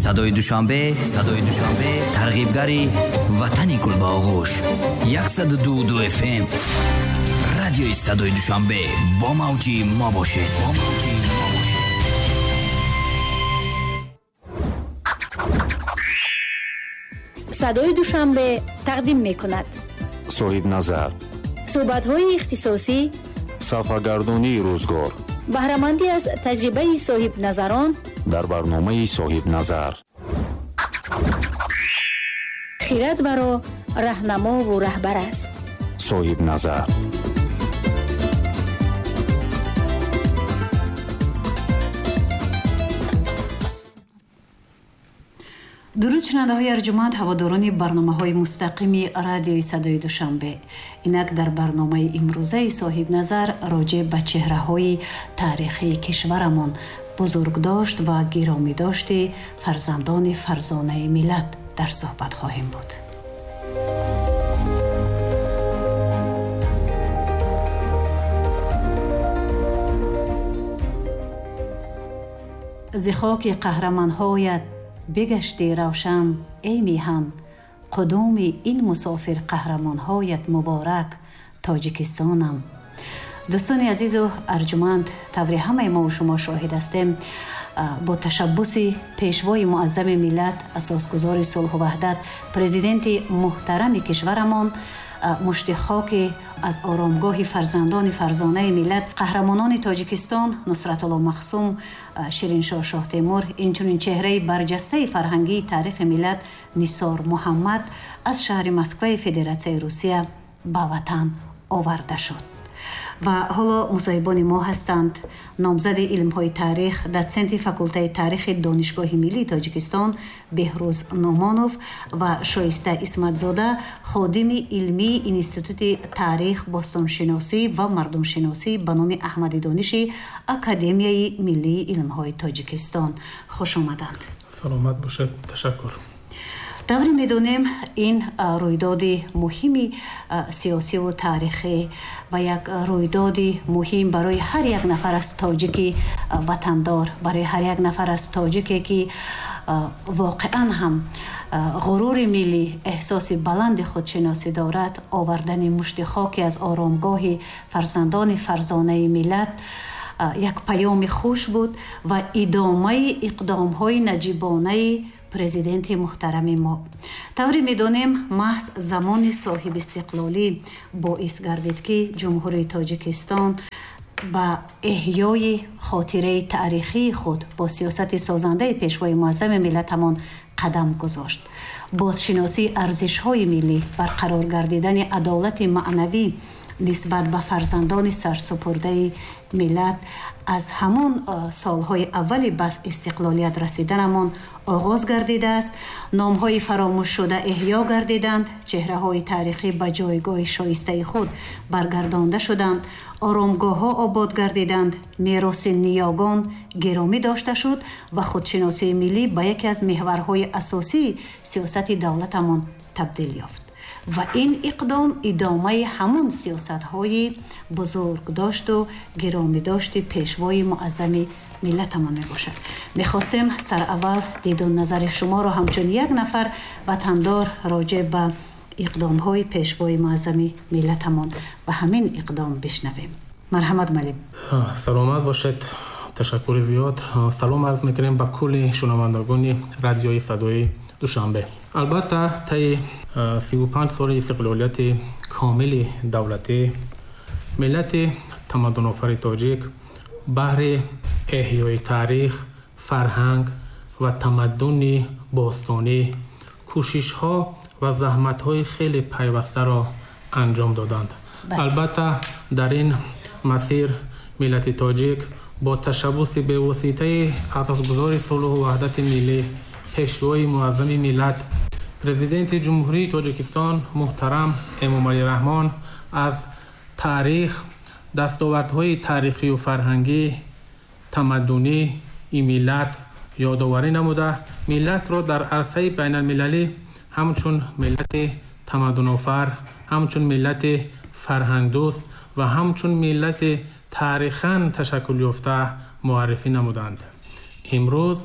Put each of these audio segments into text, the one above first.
Садои Душанбе, Садои Душанбе, тарғибгари ватани гул ба оғӯш. 102.2 FM. Радиои Садои Душанбе бо мавҷи мо бошед. Бо мавҷи мо бошед. Садои Душанбе тақдим мекунад. Соҳибназар. Суҳбатҳои ихтисосӣ, сафаргардонии рӯзгор, баҳрамандӣ аз таҷрибаи соҳибназарон дар барномаи Соҳибназар. Хирад варо раҳнамову раҳбар аст. Соҳибназар. Дуруд шунандаҳои арҷуманд, ҳаводорони барномаҳои мустақими радиои Садои Душанбе. Инак дар барномаи имрӯзаи Соҳибназар роҷеъ ба чеҳраҳои таърихии кишварамон, бузургдошт ва гиромидошти фарзандони фарзонаи миллат дар суҳбат хоҳем буд. Зи хоки қаҳрамонҳоят бигашти равшан, эй меҳан, қудуми ин мусофир қаҳрамонҳоят муборак, Тоҷикистонам. Дӯстони азизу арҷуманд, таври ҳамаи мову шумо шоҳид ҳастем, бо ташаббуси пешвои муаззами миллат, асосгузори сулҳу ваҳдат, президенти муҳтарами кишварамон, мушти хоки аз оромгоҳи фарзандони фарзонаи миллат, қаҳрамонони Тоҷикистон Нусратулло Махсум, Шириншоҳ Шоҳтемур, инчунин чеҳраи барҷастаи фарҳангии таърихи миллат Нисор Муҳаммад аз шаҳри Москваи Федератсияи Русия ба ватан оварда шуд. Ва ҳоло мусоҳибони мо ҳастанд номзади илмҳои таърих, дотсенти факултаи таърихи Донишгоҳи миллии Тоҷикистон Беҳрӯз Нумонов ва Шоиста Исматзода, ходими илмии Институти таърих, бостоншиносӣ ва мардумшиносӣ ба номи Аҳмади Дониши Академияи миллии илмҳои Тоҷикистон. Хуш омаданд. Саломат бошед, ташаккур. Тавре медонем, ин рӯйдоди муҳими сиёсиву таърихӣ ва як рӯйдоди муҳим барои ҳар як нафар аз тоҷики ватандор, барои ҳар як нафар аз тоҷике ки воқеан ҳам ғурури миллӣ, эҳсоси баланди худшиносӣ дорад, овардани мушти хоки аз оромгоҳи фарзандони фарзонаи миллат як паёми хуш буд ва идомаи иқдомҳои наҷибонаи президенти муҳтарами мо. Тавре медонем, маҳз замони соҳибистиқлолӣ боис гардид, ки Ҷумҳурии Тоҷикистон ба эҳёи хотираи таърихии худ бо сиёсати созандаи пешвои муаззами миллатамон қадам гузошт. Бозшиносии арзишҳои миллӣ, барқарор гардидани адолати маънавӣ нисбат ба фарзандони сарсупурдаи миллат аз ҳамон солҳои аввали ба истиқлолият расиданамон оғоз гардидааст. Номҳои фаромӯшшуда эҳё гардиданд, чеҳраҳои таърихӣ ба ҷойгоҳи шоистаи худ баргардонда шуданд, оромгоҳҳо обод гардиданд, мероси ниёгон гиромӣ дошта шуд ва худшиносии миллӣ ба яке аз меҳварҳои асосии сиёсати давлатамон табдил ёфт. Ва ин иқдом идомаи ҳамон сиёсатҳои бузургдошту гиромидошти пешвои муаззами миллатамон мебошад. Мехостем сараввал диду назари шуморо ҳамчун як нафар ватандор роҷеъ ба иқдомҳои пешвои муаззами миллатамон ва ҳамин иқдом бишнавем. Марҳамат, малим. Саломат бошед, ташаккури зиёд. Салом арз мекунем ба кулли шунавандагони радиои Садои Душанбе. Албатта, таи 35 соли истиқлолияти комили давлатӣ миллати тамаддунофари тоҷик баҳри эҳёи таърих, фарҳанг ва тамаддуни бостонӣ кӯшишҳо ва заҳматҳои хеле пайвастаро анҷом доданд. Албатта, дар ин масир миллати тоҷик бо ташаббуси бевоситаи асосгузори сулҳу ваҳдати миллӣ, пешвои муаззами миллат, президенти Ҷумҳурии Тоҷикистон муҳтарам Эмомалӣ Раҳмон аз таърих, дастовардҳои таърихию фарҳангӣ, тамаддунии миллат ёдоварӣ намуда, миллатро дар арсаи байналмилалӣ ҳамчун миллати тамаддунофар, ҳамчун миллати фарҳангдӯст ва ҳамчун миллати таърихан ташаккул ёфта муаррифӣ намуданд. Имрӯз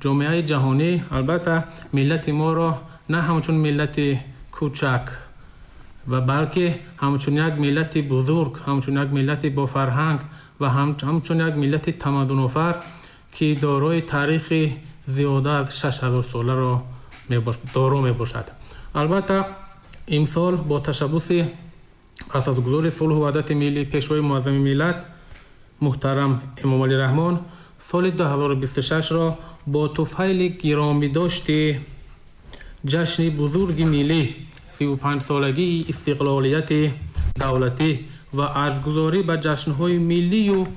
Ҷомеаи ҷаҳонӣ албатта миллати моро на ҳамчун миллати кӯчак ва балки ҳамчун як миллати бузург, ҳамчун як миллати бофарҳанг ва ҳамчун як миллати тамаддунофар, ки дорои таърихи зиёда аз 6000 соларо доро мебошад. Албатта, имсол бо ташаббуси асосгузори сулҳу ваҳдати миллӣ, Пешвои муаззами миллат муҳтарам Эмомалӣ Раҳмон соли 2026-ро бо туфайли гиромидошти ҷашни бузурги миллӣ, 35-солагии истиқлолияти давлатӣ ва арҷгузорӣ ба ҷашнҳои миллию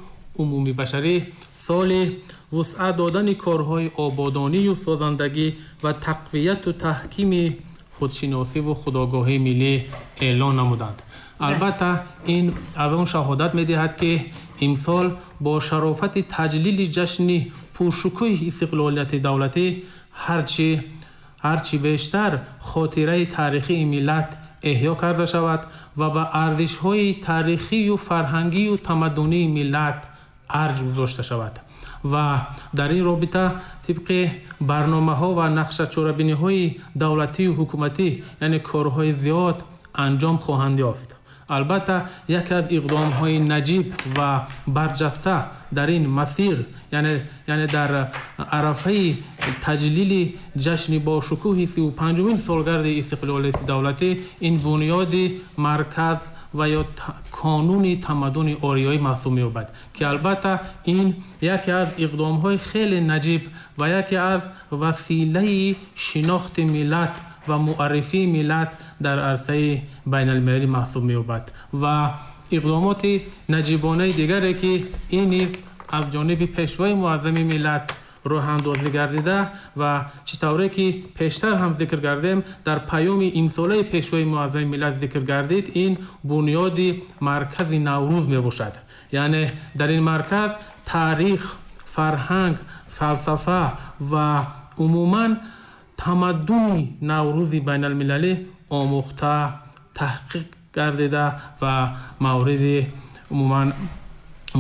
умумибашарӣ, соли вусъат додани корҳои ободонию созандагӣ ва тақвияту таҳкими худшиносиву худогоҳии миллӣ эълон намуданд. Албатта, ин аз он шаҳодат медиҳад, ки имсол бо шарофати таҷлили ҷашни пуршукӯҳи истиқлолияти давлатӣ ҳарчи бештар хотираи таърихии миллат эҳё карда шавад ва ба арзишҳои таърихию фарҳангию тамаддунии миллат арҷ гузошта шавад. Ва дар ин робита тибқи барномаҳо ва нақшачорабиниҳои давлатию ҳукуматӣ, яъне корҳои зиёд анҷом хоҳанд ёфт. Албатта, яке аз иқдомҳои наҷиб ва барҷаста дар ин масир, яъне дар арафаи таҷлили ҷашни бошукӯҳи 35-умин солгарди истиқлолияти давлатӣ, ин бунёди марказ ва ё қонуни тамаддуни ориёӣ маҳсуб меёбад, ки албатта ин яке аз иқдомҳои хеле наҷиб ва яке аз василаи шинохти миллат ва муаррифии миллат дар арсаи байналмилалӣ маҳсуб меёбад. Ва иқдомоти наҷибонаи дигаре, ки ин низ аз ҷониби Пешвои муаззами миллат роҳандозӣ гардида ва чӣ тавре ки пештар ҳам зикр кардем, дар паёми имсолаи Пешвои муаззами миллат зикр гардид, ин бунёди маркази Наврӯз мебошад. Яъне дар ин марказ таърих, фарҳанг, фалсафа ва умуман тамаддуни Наврӯзи байналмилалӣ омӯхта, таҳқиқ гардида ва мавриди умуман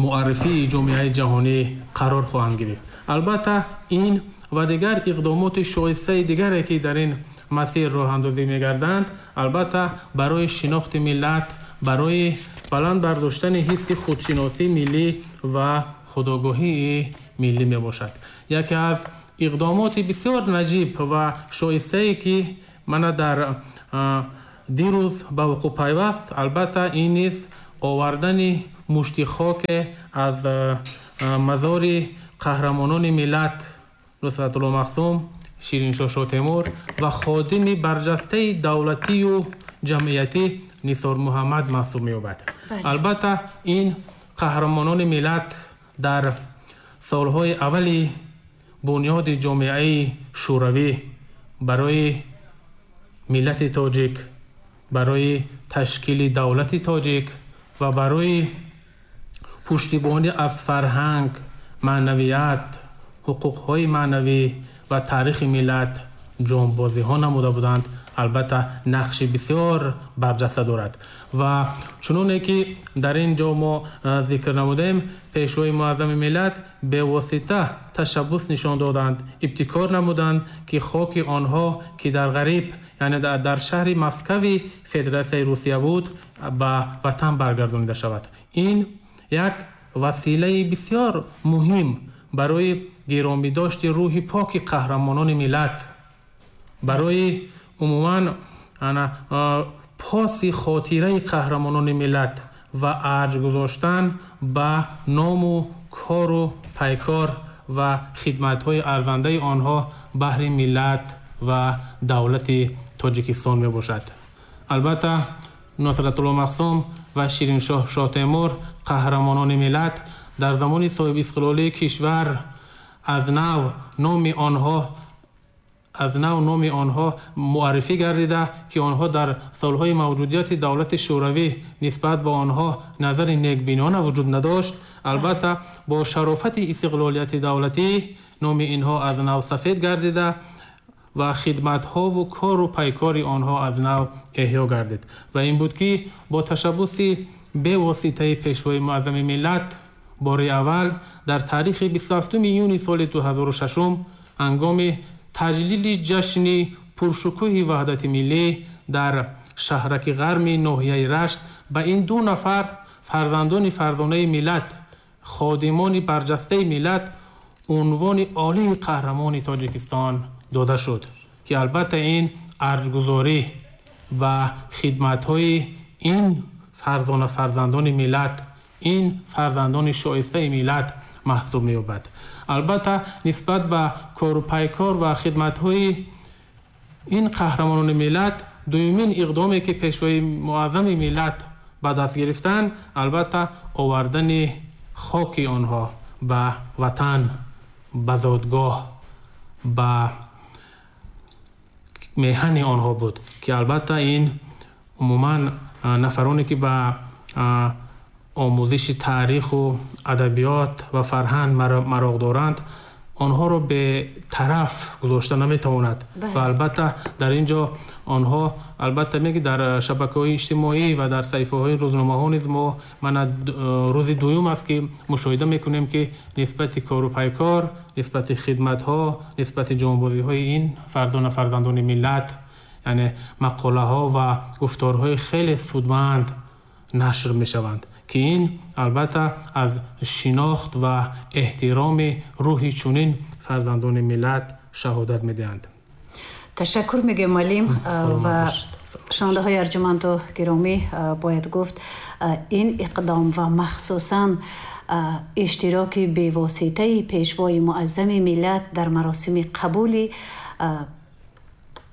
муаррифии ҷомеаи ҷаҳонӣ қарор хоҳанд гирифт. Албатта, ин ва дигар иқдомоти шоистаи дигаре, ки дар ин масир роҳандозӣ мегарданд, албатта барои шинохти миллат, барои баланд бардоштани ҳисси худшиносии миллӣ ва худогоҳии миллӣ мебошад. Яке аз иқдомоти бисёр наҷиб ва шоистае, ки мана дар дирӯз ба вуқӯъ пайваст, албатта ин низ овардани мушти хоке аз мазори қаҳрамонони миллат Нусратулло Махсум, Шириншоҳ Шотемур ва ходими барҷастаи давлатию ҷамъиятӣ Нисор Муҳаммад маҳсуб меёбад. Албатта, ин қаҳрамонони миллат дар солҳои аввали бунёди ҷомеаи шӯравӣ барои миллати тоҷик, барои ташкили давлати тоҷик ва барои пуштибонӣ аз фарҳанг, маънавият, ҳуқуқҳои маънавӣ ва таърихи миллат ҷонбозиҳо намуда буданд, албатта нақши бисёр барҷаста дорад. Ва чуноне ки дар ин ҷо мо зикр намудем, Пешвои муаззами миллат бевосита ташаббус нишон доданд, ибтикор намуданд, ки хоки онҳо, ки дар ғариб, яъне дар шаҳри Москави Федератсияи Русия буд, ба ватан баргардонида шавад. Ин як василаи бисёр муҳим барои гиромидошти рӯҳи поки қаҳрамонони миллат, барои умуман поси хотираи қаҳрамонони миллат ва арҷ гузоштан ба ному кору пайкор ва хидматҳои арзандаи онҳо баҳри миллат ва давлати Тоҷикистон мебошад. Албатта, Нусратулло Махсум ва Шириншоҳ Шоҳтемур, қаҳрамонони миллат, дар замони соҳибистиқлолии кишвар аз нав номи онҳо муаррифӣ гардида, ки онҳо дар солҳои мавҷудияти давлати шӯравӣ нисбат ба онҳо назари некбинона вуҷуд надошт. Албатта, бо шарофати истиқлолияти давлатӣ номи инҳо аз нав сафед гардида ва хидматҳову кору пайкори онҳо аз нав эҳё гардид. Ва ин буд, ки бо ташаббуси бевоситаи Пешвои муаззами миллат бори аввал дар таърихи 27 июни соли 2006. ҳангоми таҷлили ҷашни пуршукӯҳи ваҳдати миллӣ дар шаҳраки ғарми ноҳияи Рашт ба ин ду нафар фарзандони фарзонаи миллат, ходимони барҷастаи миллат унвони олии қаҳрамони Тоҷикистон дода шуд, ки албатта ин арҷгузорӣ ба хидматҳои ин фарзона фарзандони миллат, ин фарзандони шоистаи миллат маҳсуб меёбад. Албатта нисбат ба кору пайкор ва хидматҳои ин қаҳрамонони миллат дуюмин иқдоме ки пешвои муаззами миллат ба даст гирифтанд, албатта овардани хоки онҳо ба ватан, ба зодгоҳ, ба меҳани онҳо буд, ки албатта ин умуман нафароне ки ба омӯзиши таъриху адабиёт ва фарҳанг мароқ доранд, онҳоро бетараф гузошта наметавонад. Ва албатта дар ин ҷо онҳо албатта меги дар шабакаҳои иҷтимоӣ ва дар саҳифаҳои рӯзномаҳо низ мо мана рӯзи дуюм аст ки мушоҳида мекунем, ки нисбати кору пайкор, нисбати хидматҳо, нисбати ҷонбозиҳои ин фарзона фарзандони миллат, яъне мақолаҳо ва гуфторҳои хеле судманд нашр мешаванд, ки ин албатта аз шинохт ва эҳтироми рӯҳи чунин фарзандони миллат шаҳодат медиҳанд. Ташаккур мегӯем, муаллим. Ва шунавандаҳои арҷуманду гиромӣ, бояд гуфт, ин иқдом ва махсусан иштироки бевоситаи пешвои муаззами миллат дар маросими қабули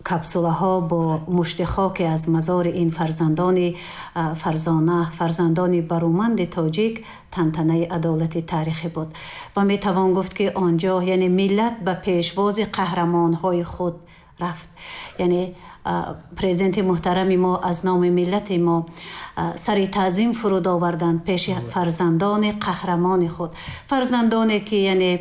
капсулаҳо бо мушти хоке аз мазори ин фарзандони фарзона, фарзандони баруманди тоҷик тантанаи адолати таърихӣ буд. Ва метавон гуфт, ки он ҷо яъне миллат ба пешвози қаҳрамонҳои худ рафт. Яъне президенти муҳтарами мо аз номи миллати мо сари таъзим фуруд оварданд пеши фарзандони қаҳрамони худ, фарзандоне ки яъне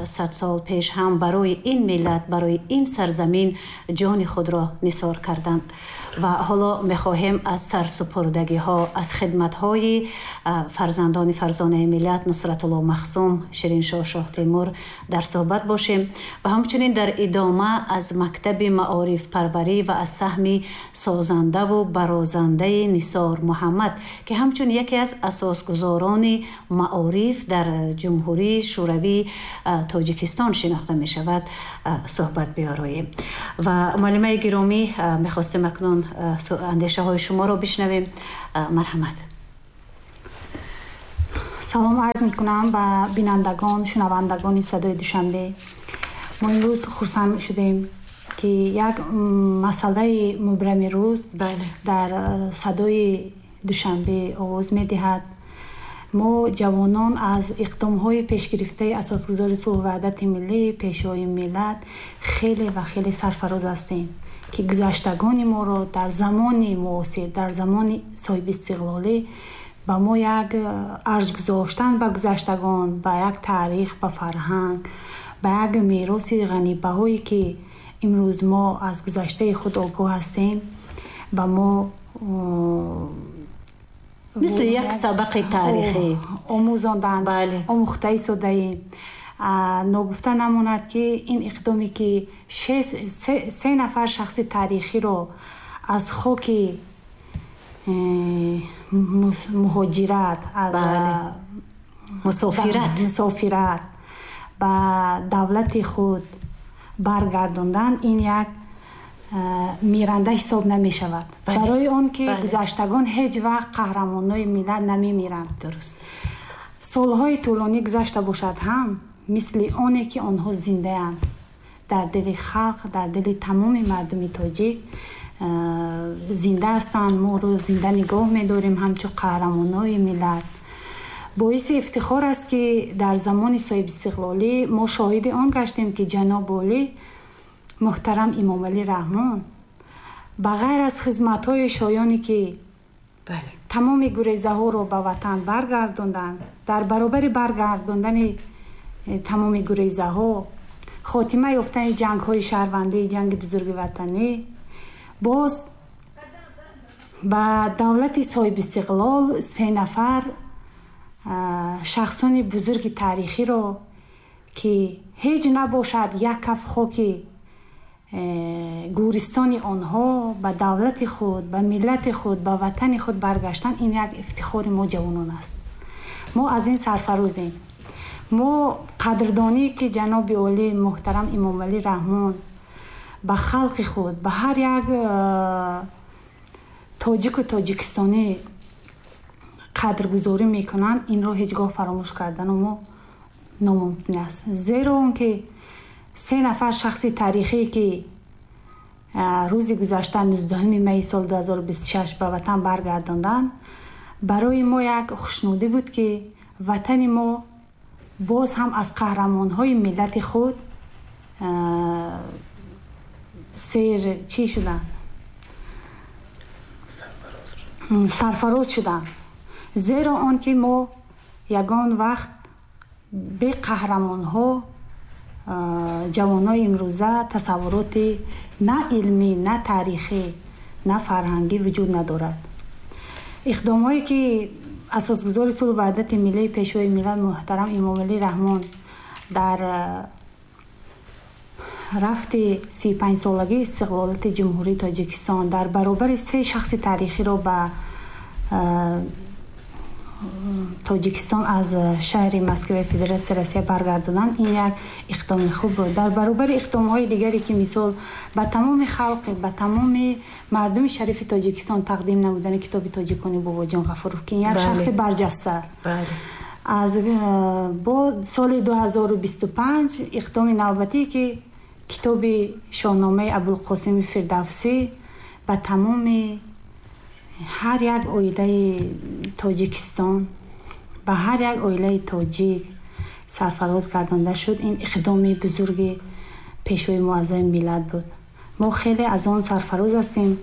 100 сол пеш ҳам барои ин миллат, барои ин сарзамин ҷони худро нисор карданд. Ва ҳоло мехоҳем аз сарсупурдагиҳо, аз хидматҳои фарзандони фарзонаи миллат Нусратулло Махсум, Шириншоҳ Шоҳтемур дар суҳбат бошем ва ҳамчунин дар идома аз мактаби маорифпарварӣ ва аз саҳми созандаву барозандаи Нисор Муҳаммад, ки ҳамчун яке аз асосгузорони маориф дар Ҷумҳурии Шӯравии Тоҷикистон шинохта мешавад, суҳбат биёроем. Ва муаллимаи гиромӣ, мехостем акнун андешаҳои шуморо бишнавем. Марҳамат. Салом арз мекунам ба бинандагон, шунавандагони Садои Душанбе. Мо имрӯз хурсанд шудем, ки як масъалаи мубрами рӯз дар Садои Душанбе оғоз медиҳад. Мо ҷавонон аз иқдомҳои пешгирифтаи асосгузори сулҳу ваҳдати миллӣ, пешвои миллат хеле ва хеле сарфароз ҳастем, ки гузаштагони моро дар замони муосир, дар замони соҳибистиқлолӣ ба мо як арҷ гузоштан ба гузаштагон, ба як таърих, ба фарҳанг, ба як мероси ғанибаҳое ки имрӯз мо аз гузаштаи худ огоҳ ҳастем, ба мо мисли як сабақи таърихӣ омӯзонданд, омӯхта истодаем. Ногуфта намонад, ки ин иқдоме ки се нафар шахси таърихиро аз хоки муҳоҷират, аз мусофират ба давлати худ баргардондан, ин як миранда ҳисоб намешавад, барои он ки гузаштагон ҳеҷ вақт қаҳрамонҳои миллат намемиранд. Дуруст аст. Солҳои тӯлонӣ гузашта бошад ҳам, мисли оне ки онҳо зиндаанд дар дили халқ, дар дили тамоми мардуми тоҷик зинда ҳастанд. Моро зинда нигоҳ медорем ҳамчун қаҳрамонҳои миллат. Боиси ифтихор аст, ки дар замони соҳибистиқлолӣ мо шоҳиди он гаштем, ки ҷаноби олӣ муҳтарам Имомалӣ Раҳмон ба ғайр аз хизматҳои шоёне ки тамоми гурезаҳоро ба ватан баргардонданд, дар баробари баргардондани тамоми гурезаҳо, хотима ёфтани ҷангҳои шаҳрвандӣ, ҷанги бузурги ватанӣ, боз ба давлати соҳибистиқлол се нафар шахсони бузурги таърихиро Ки ҳеҷ набошад, як каф хоки гӯристони онҳо ба давлати худ, ба миллати худ, ба ватани худ баргаштан, ин як ифтихори мо ҷавонон аст. Мо аз ин сарфарозем. Мо қадрдонӣ, ки ҷаноби олӣ муҳтарам Эмомалӣ Раҳмон ба халқи худ, ба ҳар як тоҷику тоҷикистонӣ қадргузорӣ мекунанд, инро ҳеҷ гоҳ фаромӯш кардану мо номумкин аст. Зеро он ки се нафар шахси таърихӣ, ки рӯзи гузашта, 19 майи соли 2026, ба ватан баргардонданд, барои мо як хушнудӣ буд, ки ватани мо боз ҳам аз қаҳрамонҳои миллати худ сер чӣ шуданд, сарфароз шуданд. Зеро он ки мо ягон вақт бе қаҳрамонҳо, ҷавонои имрӯза тасаввуроти на илмӣ, на таърихӣ, на фарҳангӣ вуҷуд надорад. Иқдомҳое, ки асосгузори сулҳу ваҳдати миллӣ, Пешвои миллат муҳтарам Эмомалӣ Раҳмон дар рафти 35-солагии истиқлолияти Ҷумҳурии Тоҷикистон дар баробари се шахси таърихиро ба Тоҷикистон аз шаҳри Москваи Федератсияи Россия баргардонанд, ин як иқдоми хуб буд. Дар баробари иқдомҳои дигаре, ки мисол ба тамоми халқ, ба тамоми мардуми шарифи Тоҷикистон тақдим намудани китоби тоҷикони Бобоҷон Ғафуров, ки як шахси барҷаста аз бо соли 2025 иқдоми навбатие, ки китоби Шоҳномаи Абулқосими Фирдавсӣ ба тамоми ҳар як оилаи Тоҷикистон, ба ҳар як оилаи тоҷик сарфароз гардонда шуд, ин иқдоми бузурги Пешвои муаззами миллат буд. Мо хеле аз он сарфароз ҳастем,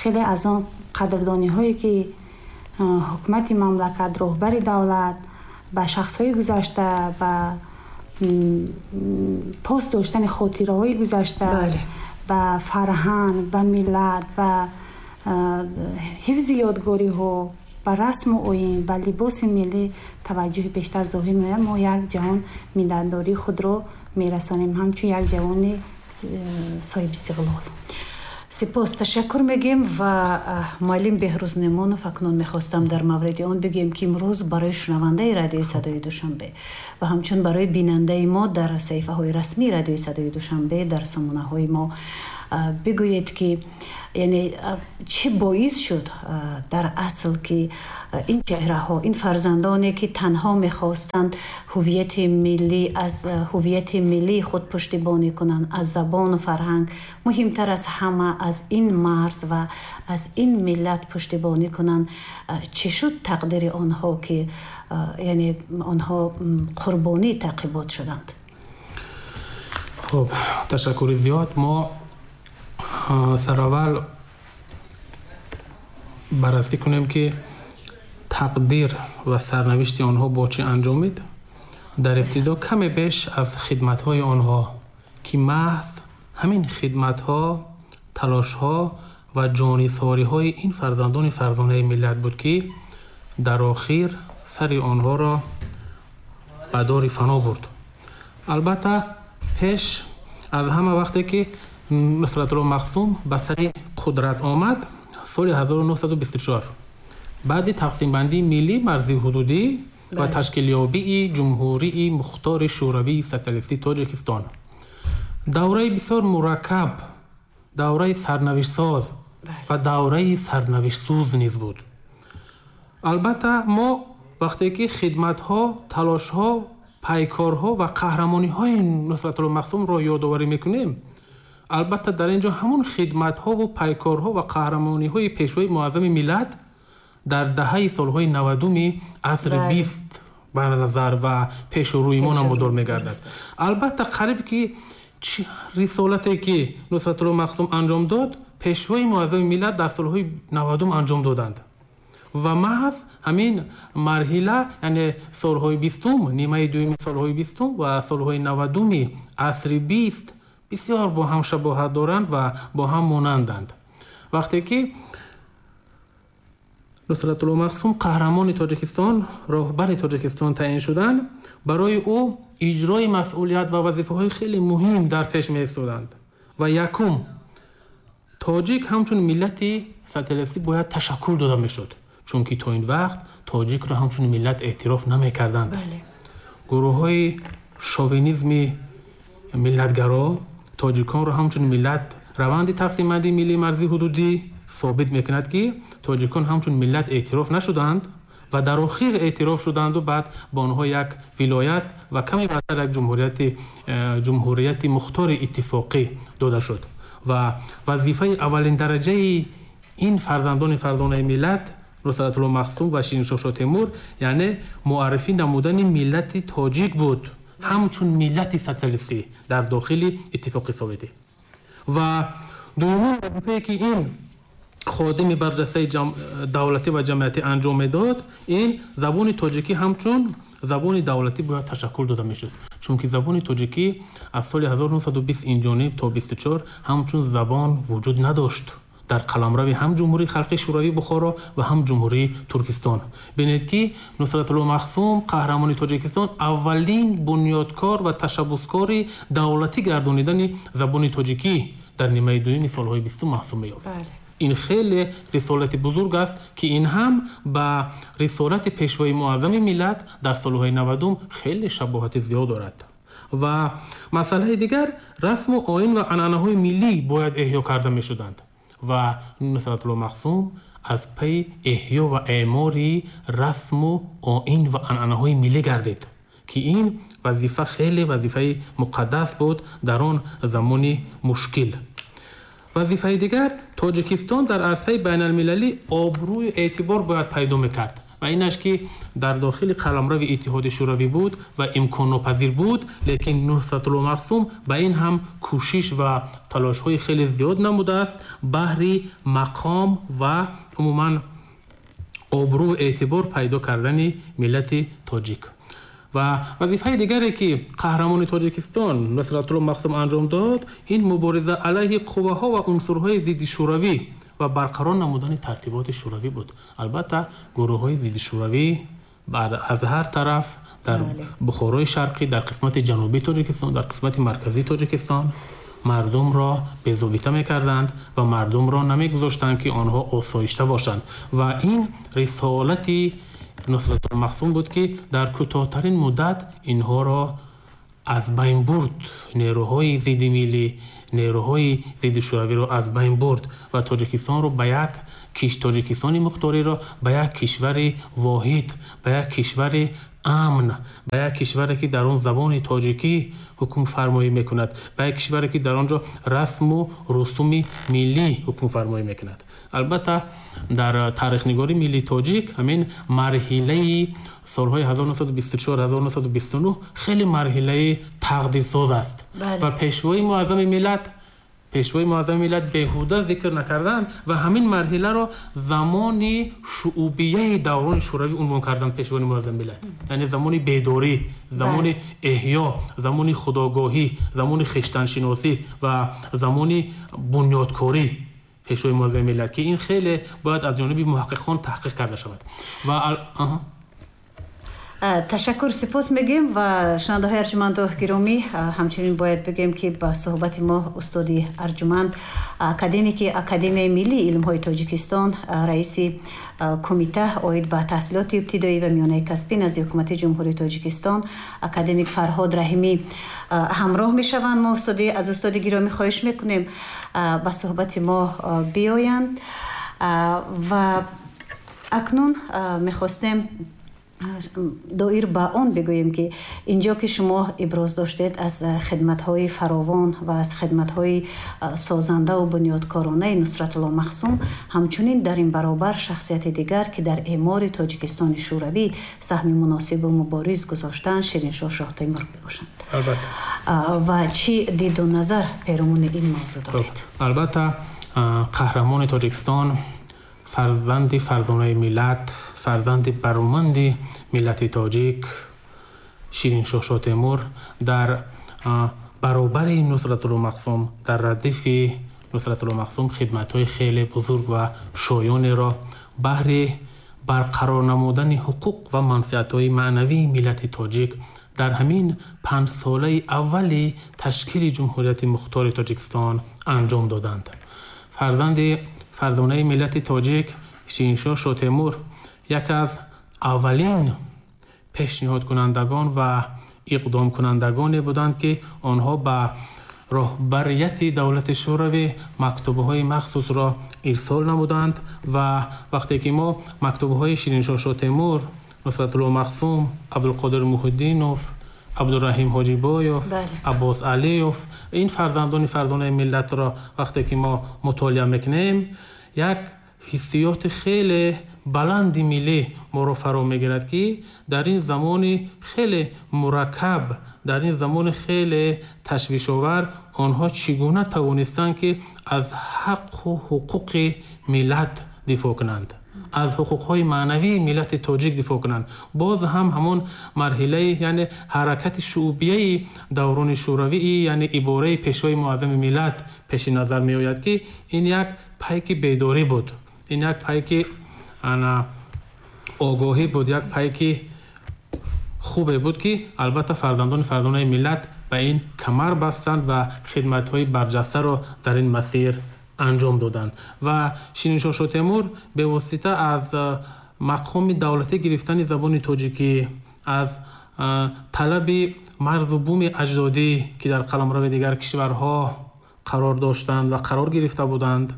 хеле аз он қадрдониҳое, ки ҳукумати мамлакат, роҳбари давлат ба шахсҳои гузашта, ба пос доштани хотираҳои гузашта, ба фарҳанг, ба миллат, ба ҳифзи ёдгориҳо, ба расму оин, ба либоси миллӣ таваҷҷӯҳи бештар зоҳир меояд, мо як ҷаҳон миннатдории худро мерасонем ҳамчун як ҷавони соҳибистиқлол. Сипос, ташаккур мегӯем. Ва муаллим Беҳрӯз Неъмонов, акнун мехостам дар мавриди он бигӯем, ки имрӯз барои шунавандаи Радиои Садои Душанбе ва ҳамчун барои бинандаи мо дар саҳифаҳои расмии Радиои Садои Душанбе, дар сомонаҳои мо бигӯед, ки яъне чӣ боис шуд дар асл, ки ин чеҳраҳо, ин фарзандоне, ки танҳо мехостанд ҳувияти миллӣ, аз ҳувияти миллии худ пуштибонӣ кунанд, аз забону фарҳанг, муҳимтар аз ҳама аз ин марз ва аз ин миллат пуштибонӣ кунанд, чӣ шуд тақдири онҳо, ки яъне онҳо қурбонии таъқибот шуданд? Хуб, ташаккури зиёд. Мо сараввал баррасӣ кунем, ки тақдир ва сарнавишти онҳо бо чӣ анҷомид. Дар ибтидо каме беш аз хидматҳои онҳо, ки маҳз ҳамин хидматҳо, талошҳо ва ҷонисориҳои ин фарзандони фарзонаи миллат буд, ки дар охир сари онҳоро ба дори фано бурд. Албатта, пеш аз ҳама, вақте ки Нусратулло Махсум ба сари қудрат омад соли 1924, баъди тақсимбандии миллӣ, марзии ҳудудӣ ва ташкилёбии Ҷумҳурии Мухтори Шӯравии Социалистии Тоҷикистон, давраи бисёр мураккаб, давраи сарнавиштсоз ва давраи сарнавиштсӯз низ буд. Албатта, мо вақте ки хидматҳо, талошҳо, пайкорҳо ва қаҳрамониҳои Нусратулло Махсумро ёдоварӣ мекунем, албатта дар ин ҷо ҳамон хидматҳову пайкорҳо ва қаҳрамониҳои Пешвои муаззами миллат дар даҳаи солҳои 90-уми асри 20 ба назар ва пешу рӯи мо намудор мегардад. Албатта, қариб ки рисолате, ки Нусратулло Махсум анҷом дод, Пешвои муаззами миллат дар солҳои 90-ум анҷом доданд ва маҳз ҳамин марҳила, яъне солҳои 20-ум, нимаи дуюми солҳои 20-ум ва солҳои 90-уми асри 20 бисёр бо ҳам шабоҳат доранд ва бо ҳам монанданд. Вақте ки Нусратулло Махсум қаҳрамони Тоҷикистон, роҳбари Тоҷикистон таъин шуданд, барои ӯ иҷрои масъулият ва вазифаҳои хеле муҳим дар пеш меистоданд. Ва якум, тоҷик ҳамчун миллати социалистӣ бояд ташаккул дода мешуд, чунки то ин вақт тоҷикро ҳамчун миллат эътироф намекарданд. Гурӯҳҳои шовинизми миллатгаро тоҷиконро ҳамчун миллат, раванди тақсимбандии миллии марзии ҳудудӣ собит мекунад, ки тоҷикон ҳамчун миллат эътироф нашуданд ва дар охир эътироф шуданду баъд ба онҳо як вилоят ва каме баъдтар як ҷумҳурияти мухтори иттифоқӣ дода шуд. Ва вазифаи аввалин дараҷаи ин фарзандони фарзонаи миллат Нусратулло Махсум ва Шириншоҳ Шоҳтемур, яъне муаррифӣ намудани миллати тоҷик буд ҳамчун миллати социалистӣ дар дохили Иттифоқи Советӣ. Ва дуюмин вазифае ки ин ходими барҷастаи давлатӣ ва ҷамъиятӣ анҷом медод, ин забони тоҷикӣ ҳамчун забони давлатӣ бояд ташаккул дода мешуд, чунки забони тоҷикӣ аз соли 1920 инҷониб то 24 ҳамчун забон вуҷуд надошт дар қаламрави ҳам Ҷумҳурии Халқии Шӯравии Бухоро ва ҳам Ҷумҳурии Туркистон. Бинед, ки Нусратулло Махсум, қаҳрамони Тоҷикистон, аввалин бунёдкор ва ташаббускори давлатӣ гардонидани забони тоҷикӣ дар нимаи дуюми солҳои бистум маҳсуб меёфт. Ин хеле рисолати бузург аст, ки ин ҳам ба рисолати пешвои муаззами миллат дар солҳои навадум хеле шабоҳати зиёд дорад. Ва масъалаи дигар, расму оин ва анъанаҳои миллӣ бояд эҳё карда мешуданд ва Нусратулло Махсум аз пайи эҳё ва эъмори расму оин ва анъанаҳои миллӣ гардид, ки ин вазифа хеле вазифаи муқаддас буд дар он замони мушкил. Вазифаи дигар, Тоҷикистон дар арсаи байналмилалӣ обрӯю эътибор бояд пайдо мекард ва инаш ки дар дохили қаламрави Иттиҳоди Шӯравӣ буд ва имконнопазир буд, лекин Нусратулло Махсум ба ин ҳам кӯшиш ва талошҳои хеле зиёд намудааст баҳри мақом ва умуман обрӯ эътибор пайдо кардани миллати тоҷик. Ва вазифаи дигаре ки қаҳрамони Тоҷикистон Нусратулло Махсум анҷом дод, ин мубориза алайҳи қувваҳо ва унсурҳои зидди шӯравӣ ва барқарор намудани тартиботи шӯравӣ буд. Албатта, гурӯҳҳои зидди шӯравӣ аз ҳар тараф дар Бухорои Шарқӣ, дар қисмати ҷанубии Тоҷикистон, дар қисмати марказии Тоҷикистон мардумро безобита мекарданд ва мардумро намегузоштанд, ки онҳо осоишта бошанд. Ва ин рисолати Нусратулло Махсум буд, ки дар кӯтоҳтарин муддат инҳоро аз байн бурд, нерӯҳои зидди миллӣ, нерӯҳои зидди шӯравиро аз байн бурд ва Тоҷикистонро ба як Тоҷикистони мухториро ба як кишвари воҳид, ба як кишвари амн, ба як кишваре ки дар он забони тоҷикӣ ҳукмфармоӣ мекунад, ба як кишваре ки дар он ҷо расму русуми миллӣ ҳукмфармоӣ мекунад. Албатта, дар таърихнигории миллии тоҷик ҳамин марҳилаи солҳои 1924-1929 хеле марҳилаи тақдирсоз аст ва пешвои муаззами миллат беҳуда зикр накарданд ва ҳамин марҳиларо замони шуъубияи даврони шӯравӣ унвон карданд пешвои муаззами миллат, яъне замони бедорӣ, замони эҳё, замони худогоҳӣ, замони хештаншиносӣ ва замони бунёдкорӣ пешвои муаззами миллат, ки ин хеле бояд аз ҷониби муҳаққиқон таҳқиқ карда шавад. Ва Ташаккур, сипос мегӯем ва шунавандаҳои арҷуманду гиромӣ, ҳамчунин бояд бигӯем, ки ба суҳбати мо устоди арҷуманд, академики Академияи миллии илмҳои Тоҷикистон, раиси кумита оид ба таҳсилоти ибтидоӣ ва миёнаи касбӣ назди Ҳукумати Ҷумҳурии Тоҷикистон, академик Фарҳод Раҳимӣ ҳамроҳ мешаванд. Мо аз устоди гиромӣ хоҳиш мекунем ба суҳбати мо биёянд ва акнун мехостем доир ба он бигӯем, ки инҷо ки шумо иброз доштед аз хидматҳои фаровон ва аз хидматҳои созандаву бунёдкоронаи Нусратулло Махсум, ҳамчунин дар ин баробар шахсияти дигар, ки дар эъмори Тоҷикистони Шӯравӣ саҳми муносибу мубориз гузоштанд, Шириншоҳ Шоҳтемур мебошанд. Албатта. Ва чӣ диду назар перомуни ин мавзӯъ доред? Албатта, қаҳрамони Тоҷикистон, фарзанди фарзонаи миллат, фарзанди бароманди миллати тоҷик Шириншоҳ Шоҳтемур дар баробари Нусратулло Махсум, дар радифи Нусратулло Махсум хидматҳои хеле бузург ва шоёнеро баҳри барқарор намудани ҳуқуқ ва манфиатҳои маънавии миллати тоҷик дар ҳамин 5 солаи аввали ташкили Ҷумҳурияти Мухтори Тоҷикистон анҷом доданд. Фарзанди фарзонаи миллати тоҷик Шириншоҳ Шотемур яке аз аввалин пешниҳодкунандагон ва иқдомкунандагоне буданд, ки онҳо ба роҳбарияти давлати Шӯравӣ мактубҳои махсусро ирсол намуданд. Ва вақте ки мо мактубҳои Шириншоҳ Шотемур, Нусратулло Махсум, Абдулқодир Муҳиддинов, Абдураҳим Ҳоҷибоев, Аббос Алиев, ин фарзандони фарзонаи миллатро вақте ки мо мутолиа мекунем, як ҳиссиёти хеле баланди миллӣ моро фаро мегирад, ки дар ин замони хеле мураккаб, дар ин замони хеле ташвишовар онҳо чӣ гуна тавонистанд, ки аз ҳаққу ҳуқуқи миллат дифоъ кунанд, аз ҳуқуқҳои маънавии миллати тоҷик дифоъ кунанд. Боз ҳам ҳамон марҳилаи, яъне ҳаракати шуъбияи даврони шӯравӣ, яъне ибораи Пешвои муаззами миллат пеши назар меояд, ки ин як пайки бедорӣ буд, ин як пайки ана огоҳӣ буд, як пайки хубе буд, ки албатта фарзандони фарзонаи миллат ба ин камар бастанд ва хидматҳои барҷастаро дар ин масир анҷом доданд. Ва Шириншоҳ Шотемур бевосита аз мақоми давлатӣ гирифтани забони тоҷикӣ, аз талаби марзу буми аҷдодӣ, ки дар қаламрави дигар кишварҳо қарор доштанд ва қарор гирифта буданд,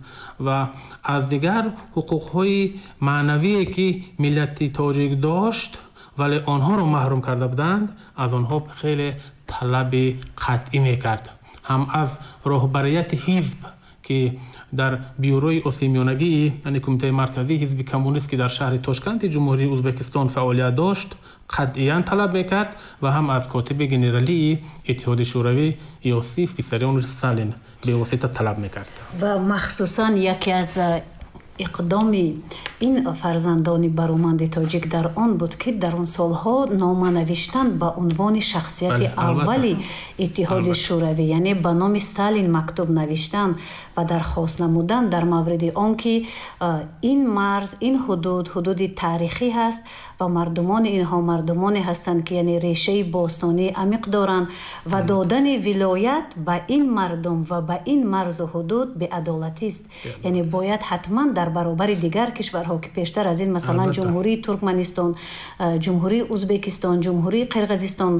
ва аз дигар ҳуқуқҳои маънавие, ки миллати тоҷик дошт, вале онҳоро маҳрум карда буданд, аз онҳо хеле талаби қатъӣ мекард. Ҳам аз роҳбарияти ҳизб, ки дар бюрои Осиёмиёнагии, яъне Кумитаи марказии ҳизби коммунист, ки дар шаҳри Тошканти Ҷумҳурии Ӯзбекистон фаъолият дошт, қатъиян талаб мекард, ва ҳам аз котиби генералии Иттиҳоди Шӯравӣ Иосиф Виссарионович Сталин бевосита талаб мекард. Ва махсусан яке аз иқдоми ин фарзандони бароманди тоҷик дар он буд, ки дар он солҳо нома навиштан ба унвони шахсияти аввали Иттиҳоди Шӯравӣ, яъне ба номи Сталин мактуб навиштан ва дархост намудан дар мавриди он ки ин марз, ин ҳудуд ҳудуди таърихӣ ҳаст ва мардумони инҳо мардумоне ҳастанд, ки яъне решаи бостонии амиқ доранд, ва додани вилоят ба ин мардум ва ба ин марзу ҳудуд беадолатист, яъне бояд ҳатман дар баробари дигар кишварҳо, ки пештар аз ин, масалан, Ҷумҳурии Туркманистон, Ҷумҳурии Ӯзбекистон, Ҷумҳурии Қирғизистон,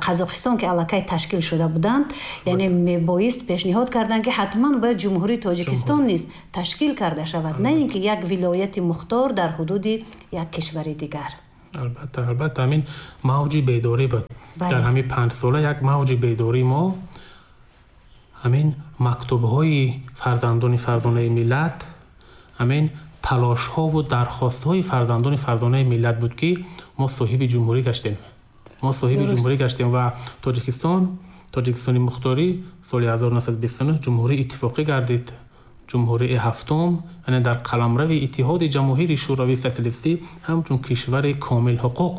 Қазоқистон, ки аллакай ташкил шуда буданд, яъне мебоист пешниҳод карданд, ки ҳатман бояд Ҷумҳурии Тоҷикистон низ ташкил карда шавад, на ин ки як вилояти мухтор дар ҳудуди як кишвари дигар. Албатта, албатта, ҳамин мавҷи бедорӣ буд. Дар ҳамин 5 сола як мавҷи бедорӣ мо ҳамин мактубҳои фарзандони фарзонаи миллат, ҳамин талошҳову дархостҳои фарзандони фарзонаи миллат буд, ки мо соҳиби ҷумҳурӣ гаштем, мо соҳиби ҷумҳурӣ гаштем ва Тоҷикистон, Тоҷикистони мухторӣ соли 1929 ҷумҳурии иттифоқӣ гардид, ҷумҳурии ҳафтум, яъне дар қаламрави Иттиҳоди Ҷамоҳири Шӯравии Социалистӣ ҳамчун кишвари комилҳуқуқ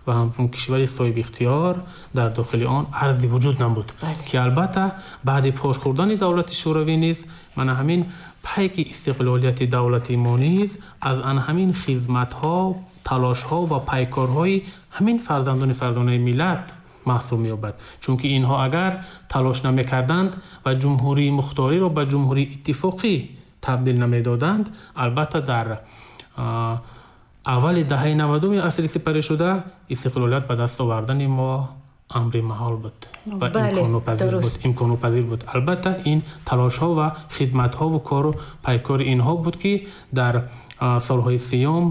ва ҳамчун кишвари соҳибихтиёр дар дохили он арзи вуҷуд намуд, ки албатта баъди пош хӯрдани давлати Шӯравӣ низ мана ҳамин пайки истиқлолияти давлати мо низ аз ан ҳамин хизматҳо, талошҳо ва пайкорҳои ҳамин фарзандони фарзонаи миллат маҳсуб меёбад. Чунки инҳо агар талош намекарданд ва ҷумҳурии мухториро ба ҷумҳурии иттифоқӣ табдил намедоданд, албатта дар аввали даҳаи 90-уми асри сипаришуда истиқлолият ба даст овардани мо амри маҳол буд ва имконнопазир буд. Албатта, ин талошҳо ва хидматҳову кору пайкори инҳо буд, ки дар солҳои 30-ум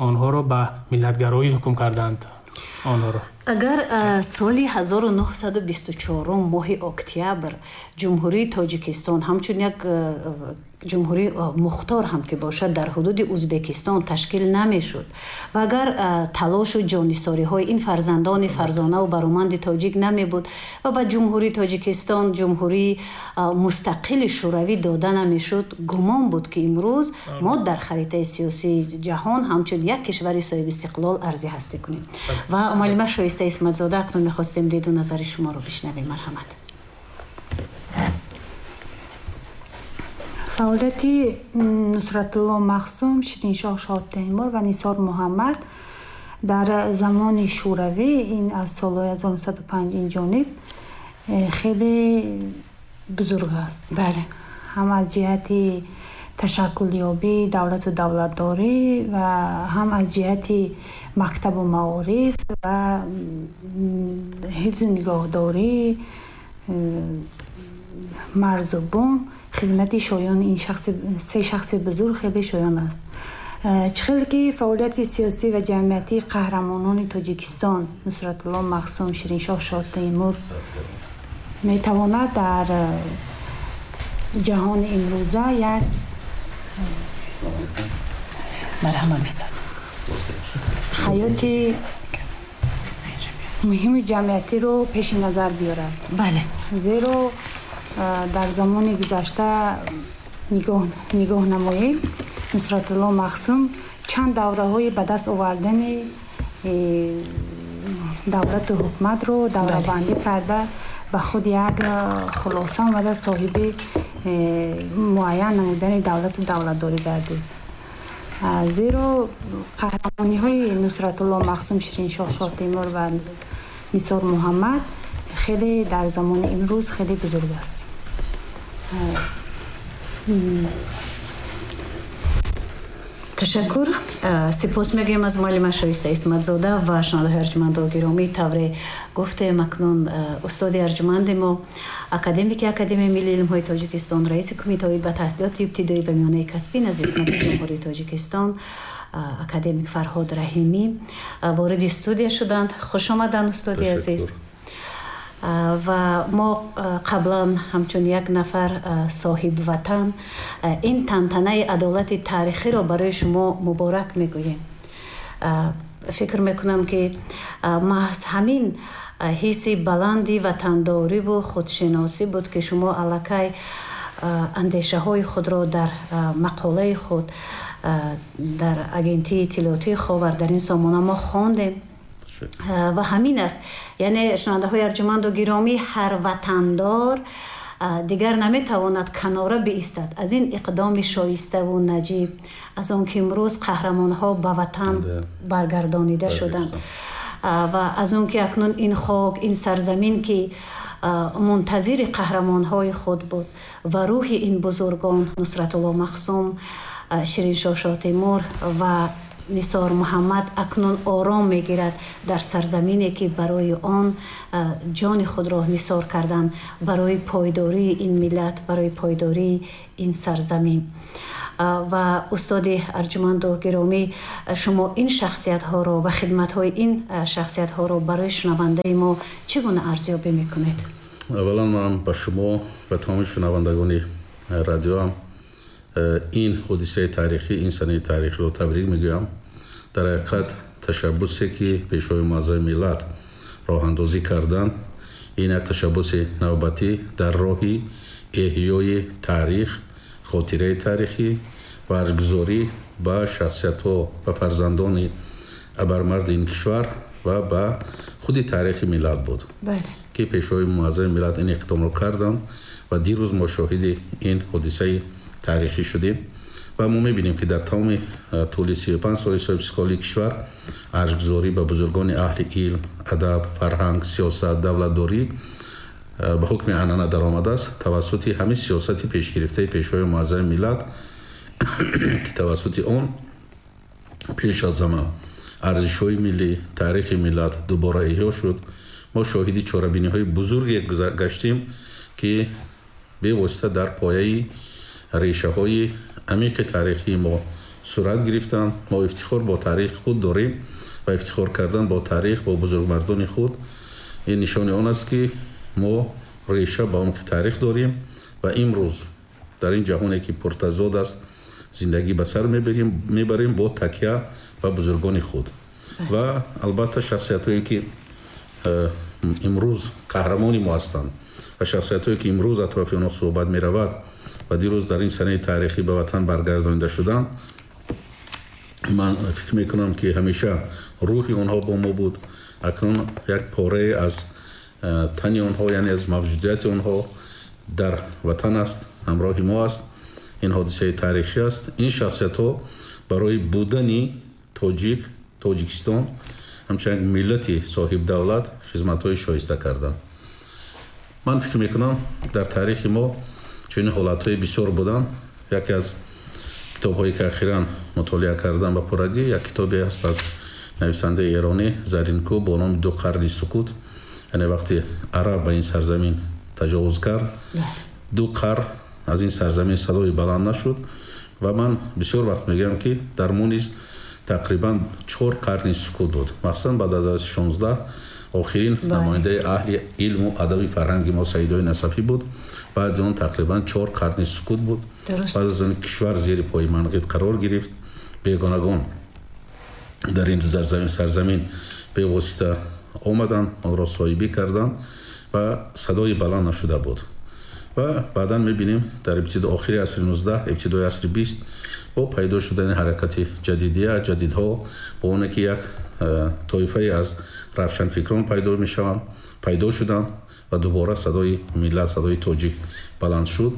онҳоро ба миллатгароӣ ҳукм карданд онҳоро. Агар соли 1924 моҳи октябр Ҷумҳурии Тоҷикистон ҳамчун як ҷумҳурии мухтор ҳам ки бошад дар ҳудуди Ӯзбекистон ташкил намешуд ва агар талошу ҷоннисориҳои ин фарзандони фарзонаву бароманди тоҷик намебуд ва ба Ҷумҳурии Тоҷикистон ҷумҳурии мустақили шӯравӣ дода намешуд, гумон буд, ки имрӯз мо дар харитаи сиёсии ҷаҳон ҳамчун як кишвари соҳибистиқлол арзи ҳастӣ кунем. Ва муаллима Шоиста Исматзода, акнун мехостем диду назари шуморо бишнавем. Марҳамат. Фаъолияти Нусратулло Махсум, Шириншоҳ Шоҳтемур ва Нисор Муҳаммад дар замони Шӯравӣ, ин аз солҳои 1905 ин ҷониб, хеле бузург аст. Бале. Ҳам аз ҷиҳати ташаккулёбии давлату давлатдорӣ ва ҳам аз ҷиҳати мактабу маориф ва ҳифзу нигоҳдории марзу бум хизмати шоёни ин се шахси бузург хеле шоён аст. Чӣ хеле ки фаъолияти сиёсӣ ва ҷамъиятии қаҳрамонони Тоҷикистон Нусратулло Махсум, Шириншоҳ Шоҳтемур метавонад дар ҷаҳони имрӯза як марҳамат устод ҳаёти муҳими ҷамъиятиро пеши назар биёрад. Бале. Зеро дар замони гузашта нигоҳ намоем, Нусратулло Махсум чанд давраҳои ба даст овардани давлату ҳукуматро даврабандӣ карда ба худ як хулоса омада соҳиби муайян намудани давлату давлатдорӣ гардид. Зеро қаҳрамониҳои Нусратулло Махсум, Шириншоҳ Шоҳтемур ва Нисор Муҳаммад хеле дар замони имрӯз хеле бузург аст. Ташаккур. Сипос мегӯем аз муаллима Шоиста Исматзода ва шунавандаҳои арҷуманду гиромӣ. Тавре гуфтем, акнун устоди арҷуманди мо, академики Академияи миллии илмҳои Тоҷикистон, раиси кумитаи ба таҳсилоти ибтидоӣ ва миёнаи касбӣ назди ҳукумати Ҷумҳурии Тоҷикистон, академик Фарҳод Раҳимӣ вориди студия шуданд. Хуш омаданд, устоди азиз. Ва мо қаблан ҳамчун як нафар соҳибватан ин тантанаи адолати таърихиро барои шумо муборак мегӯем. Фикр мекунам, ки маҳз ҳамин ҳисси баланди ватандориву худшиносӣ буд, ки шумо аллакай андешаҳои худро дар мақолаи худ дар агентии иттилоотии Ховар дар ин сомона мо хондем. Ва ҳамин аст, яъне шунавандаҳои арҷуманду гиромӣ, ҳар ватандор дигар наметавонад канора биистад аз ин иқдоми шоиставу наҷиб, аз он ки имрӯз қаҳрамонҳо ба ватан баргардонида шуданд ва аз он ки акнун ин хок, ин сарзамин, ки мунтазири қаҳрамонҳои худ буд ва рӯҳи ин бузургон Нусратулло Махсум, Шириншоҳ Шоҳтемур ва Нисор Муҳаммад акнун ором мегирад дар сарзамине, ки барои он ҷони худро нисор карданд, барои пойдории ин миллат, барои пойдории ин сарзамин. Ва устоди арҷуманду гиромӣ, шумо ин шахсиятҳоро ва хидматҳои ин шахсиятҳоро барои шунавандаи мо чӣ гуна арзёбӣ мекунед? Аввалан ман ба шумо ва тамоми шунавандагони радиоам ин ҳодисаи таърихӣ, ин санаи таърихиро табрик мегӯям. Дар ҳақиқат ташаббусе, ки Пешвои муаззами миллат роҳандозӣ карданд, ин як ташаббуси навбатӣ дар роҳи эҳёи таърих, хотираи таърихӣ ва арҷгузорӣ ба шахсиятҳо, ба фарзандони абармарди ин кишвар ва ба худи таърихи миллат буд, ки Пешвои муаззами миллат ин иқдомро карданд ва дирӯз мо шоҳиди ин ҳодисаи таърихӣ шудем. Ва мо мебинем, ки дар тамоми тӯли 35 соли соҳибистиқлолии кишвар арҷгузорӣ ба бузургони аҳли илм, адаб, фарҳанг, сиёсат, давлатдорӣ ба ҳукми анъана даромадааст тавассути ҳамин сиёсати пешгирифтаи Пешвои муаззами миллат, ки тавассути он пеш аз ҳама арзишҳои миллӣ, таърихи миллат дубора эҳё шуд. Мо шоҳиди чорабиниҳои бузурге гаштем, ки бевосита дар пояи решаҳои амиқи таърихии мо сурат гирифтанд. Мо ифтихор бо таърихи худ дорем ва ифтихор кардан бо таърих, бо бузургмардони худ, ин нишони он аст, ки мо реша ба умқи таърих дорем ва имрӯз дар ин ҷаҳоне, ки пуртазод аст, зиндагӣ ба сар мебарем бо такя ба бузургони худ. Ва албатта шахсиятҳое, ки имрӯз қаҳрамони мо ҳастанд ва шахсиятҳое, ки имрӯз атрофи онҳо суҳбат меравад ва дирӯз дар ин санаи таърихӣ ба ватан баргардонида шуданд, ман фикр мекунам, ки ҳамеша рӯҳи онҳо бо мо буд. Акнун як порае аз тани онҳо, яъне аз мавҷудияти онҳо дар ватан аст, ҳамроҳи мо аст. Ин ҳодисаи таърихӣ аст. Ин шахсиятҳо барои будани тоҷик, Тоҷикистон ҳамчун як миллати соҳибдавлат хизматҳои шоиста карданд. Ман фикр мекунам, дар таърихи мо чунин ҳолатҳои бисёр буданд. Яке аз китобҳое ки ахиран мутолиа кардам ба пуррагӣ, як китобе аст аз нависандаи эронӣ Заринку бо номи «Ду қарни сукут». Яъне вақте араб ба ин сарзамин таҷовуз кард, 2 қарн аз ин сарзамин садои баланд нашуд. Ва ман бисёр вақт мегӯям, ки дар мо низ тақрибан 4 қарни сукут буд. Махсусан баъд аз асри 16 охирин намояндаи аҳли илму адаби фарҳанги мо Саидои Насафӣ буд. Баъди он тақрибан 4 қарни сукут буд. Баъд аз он кишвар зери пои манғит қарор гирифт. Бегонагон дар ин сарзамин бевосита омаданд, онро соҳибӣ карданд ва садои баланд нашуда буд. Ва баъдан мебинем, дар ибтидо охири асри 19, ибтидои асри 20 бо пайдо шудани ҳаракати ҷадидия, ҷадидҳо, бо оне ки як тоифае аз равшанфикрон пайдо мешаванд, пайдо шуданд ва дубора садои миллат, садои тоҷик баланд шуд.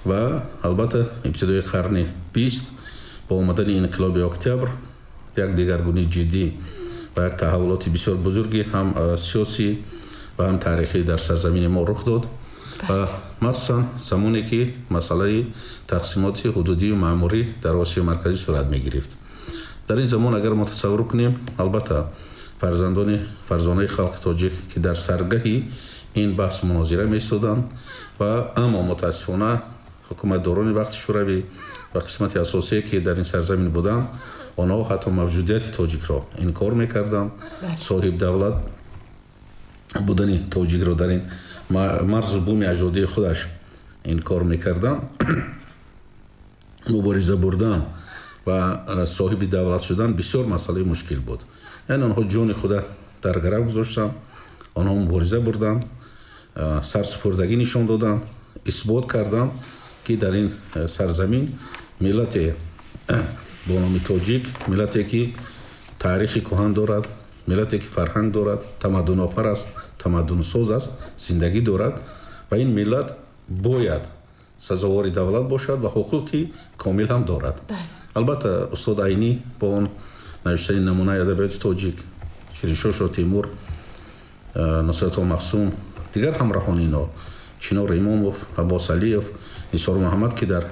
Ва албатта ибтидои қарни 20 бо омадани инқилоби октябр як дигаргунии ҷиддӣ ва як таҳаввулоти бисёр бузурги ҳам сиёсӣ ва ҳам таърихӣ дар сарзамини мо рух дод. Ва махсусан замоне ки масъалаи тақсимоти ҳудудию маъмурӣ дар Осиёи Марказӣ сурат мегирифт. Дар ин замон агар мо тасаввур кунем, албатта фарзандони фарзонаи халқи тоҷик, ки дар саргаҳи ин баҳсу мунозира меистоданд, ва аммо мутаассифона ҳукуматдорони вақти Шӯравӣ ва қисмати асосие ки дар ин сарзамин буданд, онҳо ҳатто мавҷудияти тоҷикро инкор мекарданд. Соҳибдавлат будани тоҷикро дар ин марзу буми аҷдодии худаш инкор мекарданд. Мубориза бурдан ва соҳиби давлат шудан бисёр масъалаи мушкил буд. Яъне онҳо ҷони худа дар гарав гузоштанд, онҳо мубориза бурданд, сарсупурдагӣ нишон доданд, исбот карданд, ки дар ин сарзамин миллате бо номи тоҷик, миллате ки таърихи кӯҳан дорад, миллате ки фарҳанг дорад, тамаддунофар аст, тамаддунсоз аст, зиндагӣ дорад ва ин миллат бояд сазовори давлат бошад ва ҳуқуқи комил ҳам дорад. Албатта устод Айнӣ бо он навиштани намунаи адабиёти тоҷик, Шириншоҳ Шоҳтемур, Нусратулло Махсум, дигар ҳамроҳони ино, Чинор Имомов, Аббос Алиев, Нисор Муҳаммад, ки дар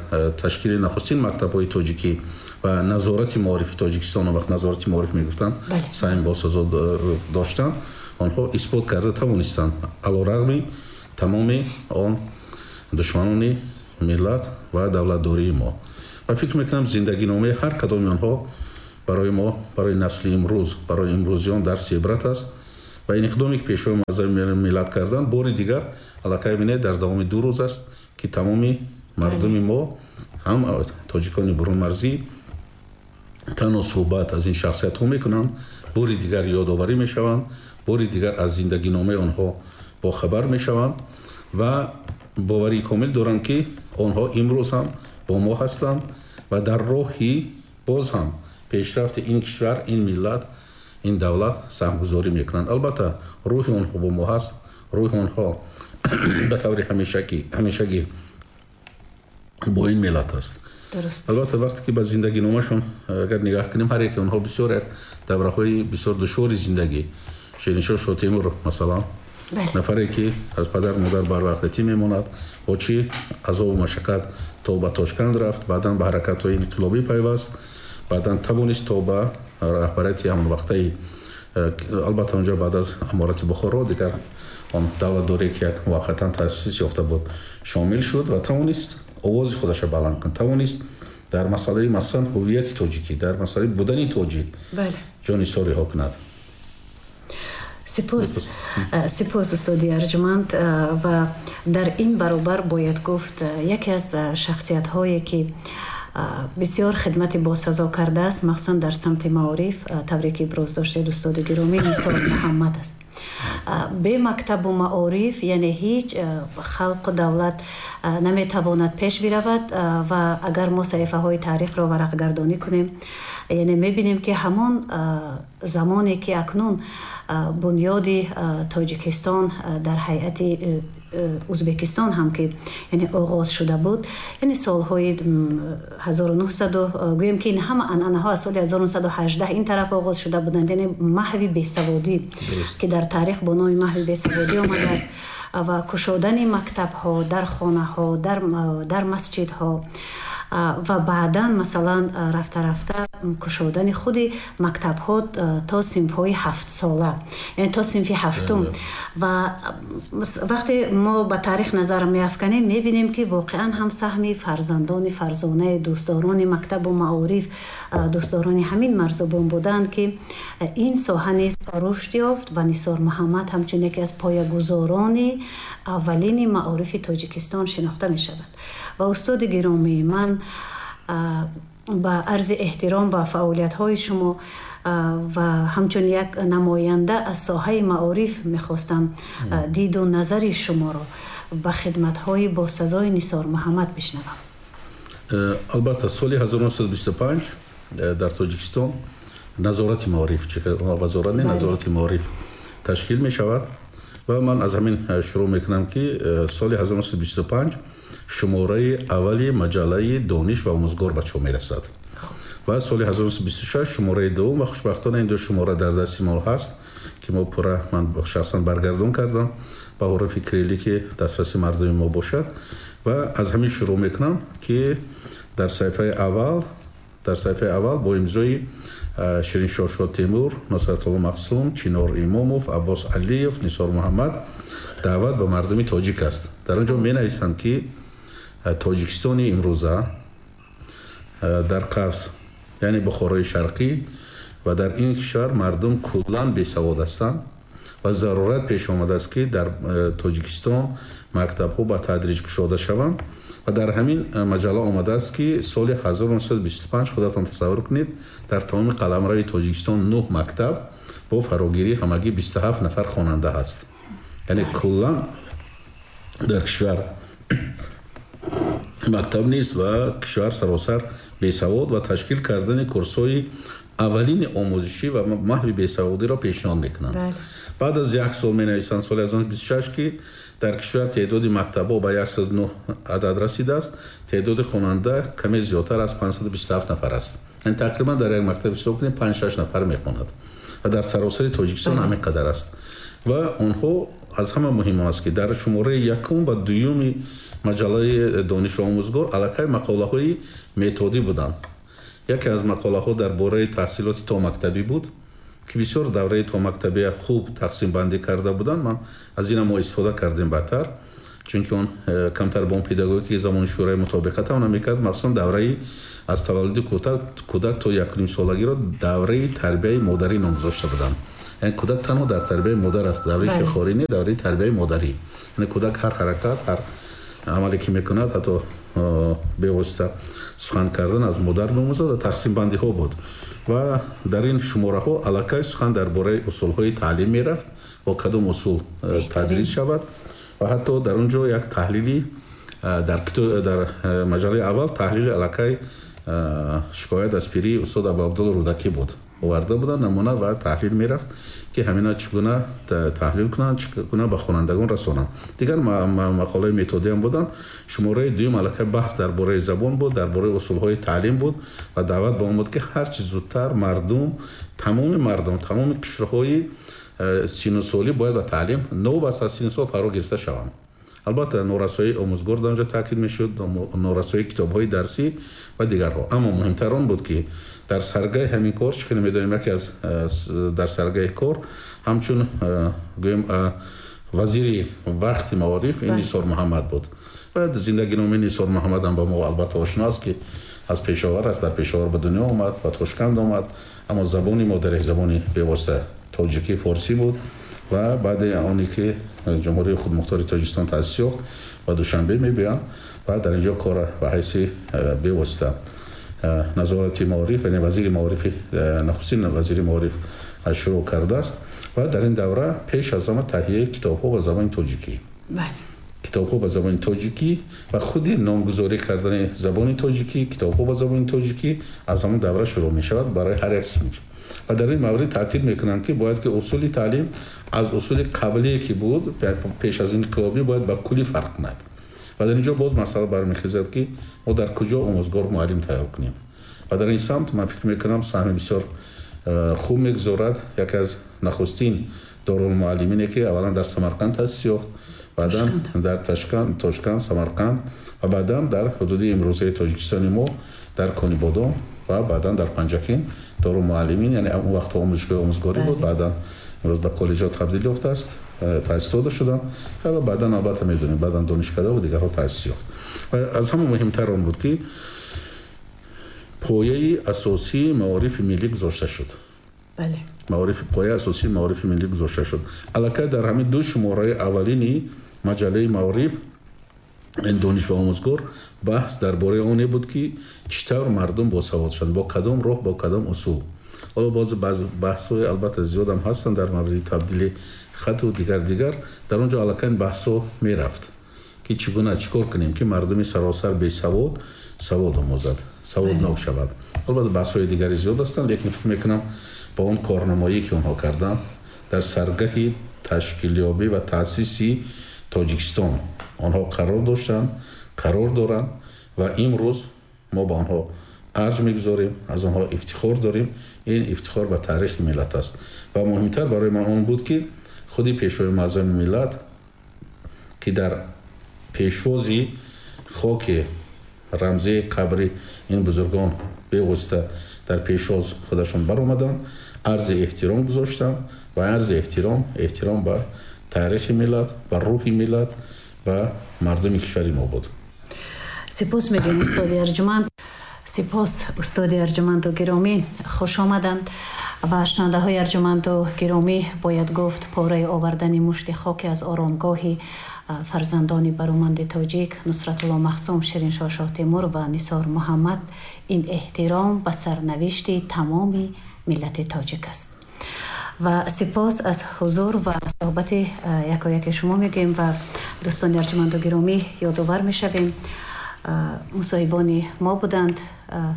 ташкили нахустин мактабҳои тоҷикӣ ва назорати маорифи Тоҷикистон, он вақт назорати маориф мегуфтанд, саҳм босазо доштанд, онҳо исбот карда тавонистанд алорағми тамоми он душманони миллат ва давлатдории мо. Ва фикр мекунам, зиндагиномаи ҳар кадоми онҳо барои мо, барои насли имрӯз, барои имрӯзиён дарси ибрат аст. Ва ин иқдоме ки Пешвои муаззами миллат карданд, бори дигар аллакай бинед, дар давоми 2 рӯз аст, ки тамоми мардуми мо, ҳам тоҷикони бурунмарзӣ, танҳо суҳбат аз ин шахсиятҳо мекунанд, бори дигар ёдоварӣ мешаванд, бори дигар аз зиндагиномаи онҳо бохабар мешаванд ва боварии комил доранд, ки онҳо имрӯз ҳам бо мо ҳастанд ва дар роҳи боз ҳам пешрафти ин кишвар, ин миллат, ин давлат саҳмгузорӣ мекунанд. Албатта рӯҳи онҳо бо мо ҳаст, рӯҳи онҳо ба таври ҳамешагӣ бо ин миллат аст. Албатта вақте ки ба зиндагиномашон агар нигаҳ кунем, ҳар яке онҳо бисёр як давраҳои бисёр душвори зиндагӣ. Шириншоҳ Шоҳтемур масалан, нафаре ки аз падар модар барвақтатӣ мемонад, бо чӣ азобу машаққат то ба Тошканд рафт, баъдан ба ҳаракатҳои инқилобӣ пайваст, баъдан тавонист то ба раҳбарияти ҳамонвақтаи, албатта онҷо баъд аз аморати Бухоро дигар он давлатдорие ки як муваққатан таъсис ёфта буд, шомил шуд ва тавонист овози худашро баланд кунад, тавонист дар масъалаи махсусан ҳуввияти тоҷикӣ, дар масъалаи будани тоҷик ҷонисориҳо кунад. Сипос, устоди арҷманд. Ва дар ин баробар бояд гуфт, яке аз шахсиятҳое ки бисёр хидмати босазо кардааст, махсусан дар самти маориф, тавре ки иброз доштед, устоди гиромӣ, Нисор Муҳаммад аст. Бе мактабу маориф, яъне ҳеҷ халқу давлат наметавонад пеш биравад. Ва агар мо саҳифаҳои таърихро варақгардонӣ кунем, яъне мебинем, ки ҳамон замоне ки акнун бунёди Тоҷикистон дар ҳайати Ӯзбекистон ҳам ки яъне оғоз шуда буд, яъне солҳои 1900, гӯем ки ин ҳама анъанаҳо аз соли 1918 ин тараф оғоз шуда буданд, яъне маҳви бесаводӣ ки дар таърих бо номи маҳви бесаводӣ омадааст ва кушодани мактабҳо дар хонаҳо, дар масҷидҳо ва баъдан масалан рафта-рафта кушодани худи мактабҳо то синфҳои ҳафтсола, яъне то синфи ҳафтум. Ва вақте мо ба таърих назар меафканем, мебинем ки воқеан ҳам саҳми фарзандони фарзонаи дӯстдорони мактабу маориф, дӯстдорони ҳамин марзубон буданд, ки ин соҳа низ рушд ёфт ва Нисор Муҳаммад ҳамчун яке аз поягузорони аввалини маорифи Тоҷикистон шинохта мешавад. Ва устоди гиромии ман, ба арзи эҳтиром ба фаъолиятҳои шумо ва ҳамчун як намоянда аз соҳаи маориф мехостам диду назари шуморо ба хидматҳои босазои Нисор Муҳаммад бишнавам. Албатта, соли 1925 дар Тоҷикистон назорати маориф, вазорати назорати маориф ташкил мешавад ва ман аз ҳамин шурӯъ мекунам, ки соли 1925 шумораи аввали маҷаллаи Дониш ва омӯзгор ба чоп мерасад ва соли 1926 шумораи дуввум, ва хушбахтона ин ду шумора дар дасти мо ҳаст, ки мо пурра, ман шахсан баргардон кардам ба ҳуруфи кириллӣ, ки дастраси мардуми мо бошад. Ва аз ҳамин шурӯъ мекунам, ки дар саҳифаи аввал бо имзои Шириншоҳ Шотемур, Нусратулло Мақсум, Чинор Имомов, Аббос Алиев, Нисор Муҳаммад даъват ба мардуми тоҷик аст. Дар он ҷо менависанд, ки Тоҷикистони имрӯза, дар қавс, яъне Бухорои Шарқӣ, ва дар ин кишвар мардум куллан бесавод ҳастанд ва зарурат пеш омадааст, ки дар Тоҷикистон мактабҳо ба тадриҷ кушода шаванд. Ва дар ҳамин маҷалла омадааст, ки соли 1925, худатон тасаввур кунед, дар тамоми қаламрави Тоҷикистон нӯҳ мактаб бо фарогирии ҳамагӣ 27 нафар хонанда ҳаст, яъне куллан дар кишвар мактаб нест ва кишвар саросар бесавод, ва ташкил кардани курсҳои аввалини омӯзишӣ ва маҳви бесаводиро пешниҳод мекунанд. Баъд аз як сол менависанд, соли 1926, ки дар кишвар теъдоди мактабҳо ба 109 адад расидааст, теъдоди хонанда каме зиёдтар аз 527 нафар аст, яъне тақрибан дар як мактаб ҳисоб кунем, 5-6 нафар мехонад ва дар саросари Тоҷикистон ҳамин қадар аст. Ва онҳо, аз ҳама муҳим он аст, ки дар шумораи якум ва дуюми маҷаллаи Дониш ва омӯзгор аллакай мақолаҳои методӣ буданд. Яке аз мақолаҳо дар бораи таҳсилоти томактабӣ буд, ки бисёр давраи томактабия хуб тақсимбандӣ карда буданд. Ман аз ина мо истифода кардем баъдтар, чунки он камтар бо он педагогики замони шӯрои мутобиқат ҳам намекард. Махсусан давраи аз таваллуди кӯдак то 1,5 солагиро давраи тарбияи модарӣ ном гузошта буданд, яъне кӯдак танҳо дар тарбияи модар аст, давраи ширхорӣ не, давраи тарбияи модарӣ, яъне кӯдак ҳар ҳаракат, ҳар амале ки мекунад, ҳатто бевосита сухан кардан, аз модар меомӯзад. Ва тақсимбандиҳо буд ва дар ин шумораҳо аллакай сухан дар бораи усулҳои таълим мерафт, бо кадом усул тадрис шавад. Ва ҳатто дар он ҷо як таҳлили дар маҷаллаи аввал таҳлили аллакай «Шикоят аз пирии» устод Абуабдулло Рӯдакӣ буд, оварда буданд намуна ва таҳлил мерафт, ки ҳамина чӣ гуна таҳлил кунанд, чӣ гуна ба хонандагон расонанд. Дигар мақолаи методиам буданд. Шумораи дуюм аллакай баҳс дар бораи забон буд, дар бораи усулҳои таълим буд ва даъват ба он буд, ки ҳарчи зудтар мардум, тамоми мардум, тамоми қишрҳои синну солӣ бояд ба таълим новобаста аз синну сол фаро гирифта шаванд. Албатта, норасоии омӯзгор дар онҷо таъкид мешуд, норасоии китобҳои дарсӣ ва дигарҳо. Аммо муҳимтар он буд, ки дар саргаи ҳамин кор, чӣ хеле медонем, яке аз дар саргаи кор ҳамчун гӯем вазири вақти маориф ин Нисор Муҳаммад буд. Ва зиндагиномаи Нисор Муҳаммад ҳам ба мо албатта ошно аст, ки аз Пешовар аст, дар Пешовар ба дунё омад, ба Тошканд омад, аммо забони модариш забони бевосита тоҷикӣ, форсӣ буд. Ва баъди оне ки Ҷумҳурии Худмухтори Тоҷикистон таъсис ёфт, ба Душанбе мебиёнд ва дар ин ҷо кора ба ҳайси бевосита назорати маориф, яъне вазири маорифи, нахустин вазири маориф шурӯъ кардааст. Ва дар ин давра пеш аз ҳама таҳияи китобҳо ба забони тоҷикӣ, китобҳо ба забони тоҷикӣ ва худи номгузорӣ кардани забони тоҷикӣ, китобҳо ба забони тоҷикӣ аз ҳамон давра шурӯъ мешавад барои ҳар як синф. Ва дар ин маврид таъкид мекунанд, ки бояд ки усули таълим аз усули қаблие ки буд пеш аз инқилобӣ бояд ба куллӣ фарқ кунад. Ва дар ин ҷо боз масъала бармехезад, ки мо дар куҷо омӯзгор муаллим тайёр кунем. Ва дар ин самт ман фикр мекунам саҳми бисёр хуб мегузорад яке аз нахустин дорулмуаллимине, ки аввалан дар Самарқанд таъсис ёфт, баъдан дар Тошканд, Самарқанд ва баъдан дар ҳудуди имрӯзаи Тоҷикистони мо дар Конибодом ва баъдан дар Панҷакент дорулмуаллимин, яъне он вақтҳо омӯзишгоҳи омӯзгорӣ буд, баъдан имрӯз ба коллеҷҳо табдил ёфтааст, таъсис дода шуданд ва баъдан албатта медонем, баъдан донишкада ва дигарҳо таъсис ёфт. Ва аз ҳама муҳимтар он буд, ки пояи асосии маорифи миллӣ гузошта шуд. Бале. Маориф, пояи асосии маорифи миллӣ гузошта шуд. Аллакай дар ҳамин ду шумораи аввалини маҷаллаи маориф ин дониш ва омӯзгор баҳс дар бораи оне буд, ки чӣ тавр мардум босавод шаванд, бо кадом роҳ, бо кадом усул. Ҳоло боз баҳсҳои албатта зиёдам ҳастанд дар мавриди табдили хату дигар. Дар он ҷо аллакай ин баҳсҳо мерафт, ки чӣ гуна чӣ кор кунем, ки мардуми саросар бесавод савод омӯзад, саводнок шавад. Албатта баҳсҳои дигари зиёд ҳастанд, лекин фикр мекунам ба он корнамоӣ, ки онҳо карданд дар саргаҳи ташкилёбӣ ва таъсиси Тоҷикистон онҳо қарор доштанд, қарор доранд ва имрӯз мо ба онҳо арҷ мегузорем, аз онҳо ифтихор дорем. Ин ифтихор ба таърихи миллат аст. Ва муҳимтар барои ман он буд, ки худи пешвои муаззами миллат, ки дар пешвози хоки рамзии қабри ин бузургон бевосита дар пешвоз худашон баромаданд, арзи эҳтиром гузоштанд ва арзи эҳтиром ба таърихи миллат, ба рӯҳи миллат, ба мардуми кишвари мо буд. Сипос мегӯем, устоди арҷуманд. Сипос, устоди арҷуманду гиромӣ, хуш омаданд. Ва шунавандаҳои арҷуманду гиромӣ, бояд гуфт, пораи овардани мушти хоки аз оромгоҳи фарзандони бароманди тоҷик Нусратулло Махсум, Шириншоҳ Шоҳтемур ва Нисор Муҳаммад ин эҳтиром ба сарнавишти тамоми миллати тоҷик аст. Ва сипос аз ҳузур ва суҳбати якояки шумо мегӯем ва дӯстони арҷуманду гиромӣ, ёдовар мешавем, мусоҳибони мо буданд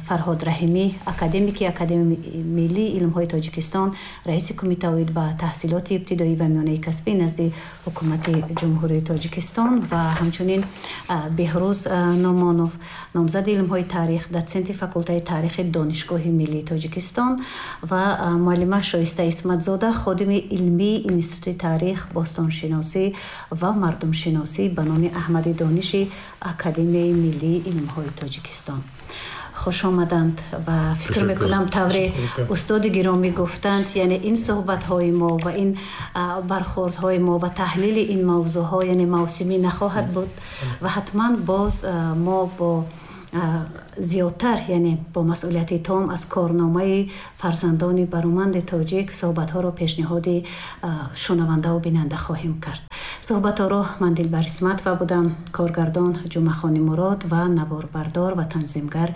Фарҳод Раҳимӣ, академики Академияи миллии илмҳои Тоҷикистон, раиси кумита оид ба таҳсилоти ибтидоӣ ва миёнаи касбӣ назди ҳукумати Ҷумҳурии Тоҷикистон ва ҳамчунин Беҳрӯз Номонов, номзади илмҳои таърих, дотсенти факултаи таърихи Донишгоҳи миллии Тоҷикистон ва муаллима Шоиста Исматзода, ходими илмии Институти таърих, бостоншиносӣ ва мардумшиносӣ ба номи Аҳмади Дониши Академияи миллии илмҳои Тоҷикистон. Хуш омаданд ва фикр мекунам тавре устоди гиромӣ гуфтанд, яъне ин суҳбатҳои мо ва ин бархӯрдҳои мо ва таҳлили ин мавзӯъҳо яъне мавсимӣ нахоҳад буд ва ҳатман боз мо бо зиёдтар, яъне бо масъулияти том аз корномаи фарзандони бароманди тоҷик суҳбатҳоро пешниҳоди шунавандаву бинанда хоҳем кард. Суҳбатҳоро ман Дилбар Исматова будам, коргардон Ҷумъахони Мурод ва наворбардор ва танзимгар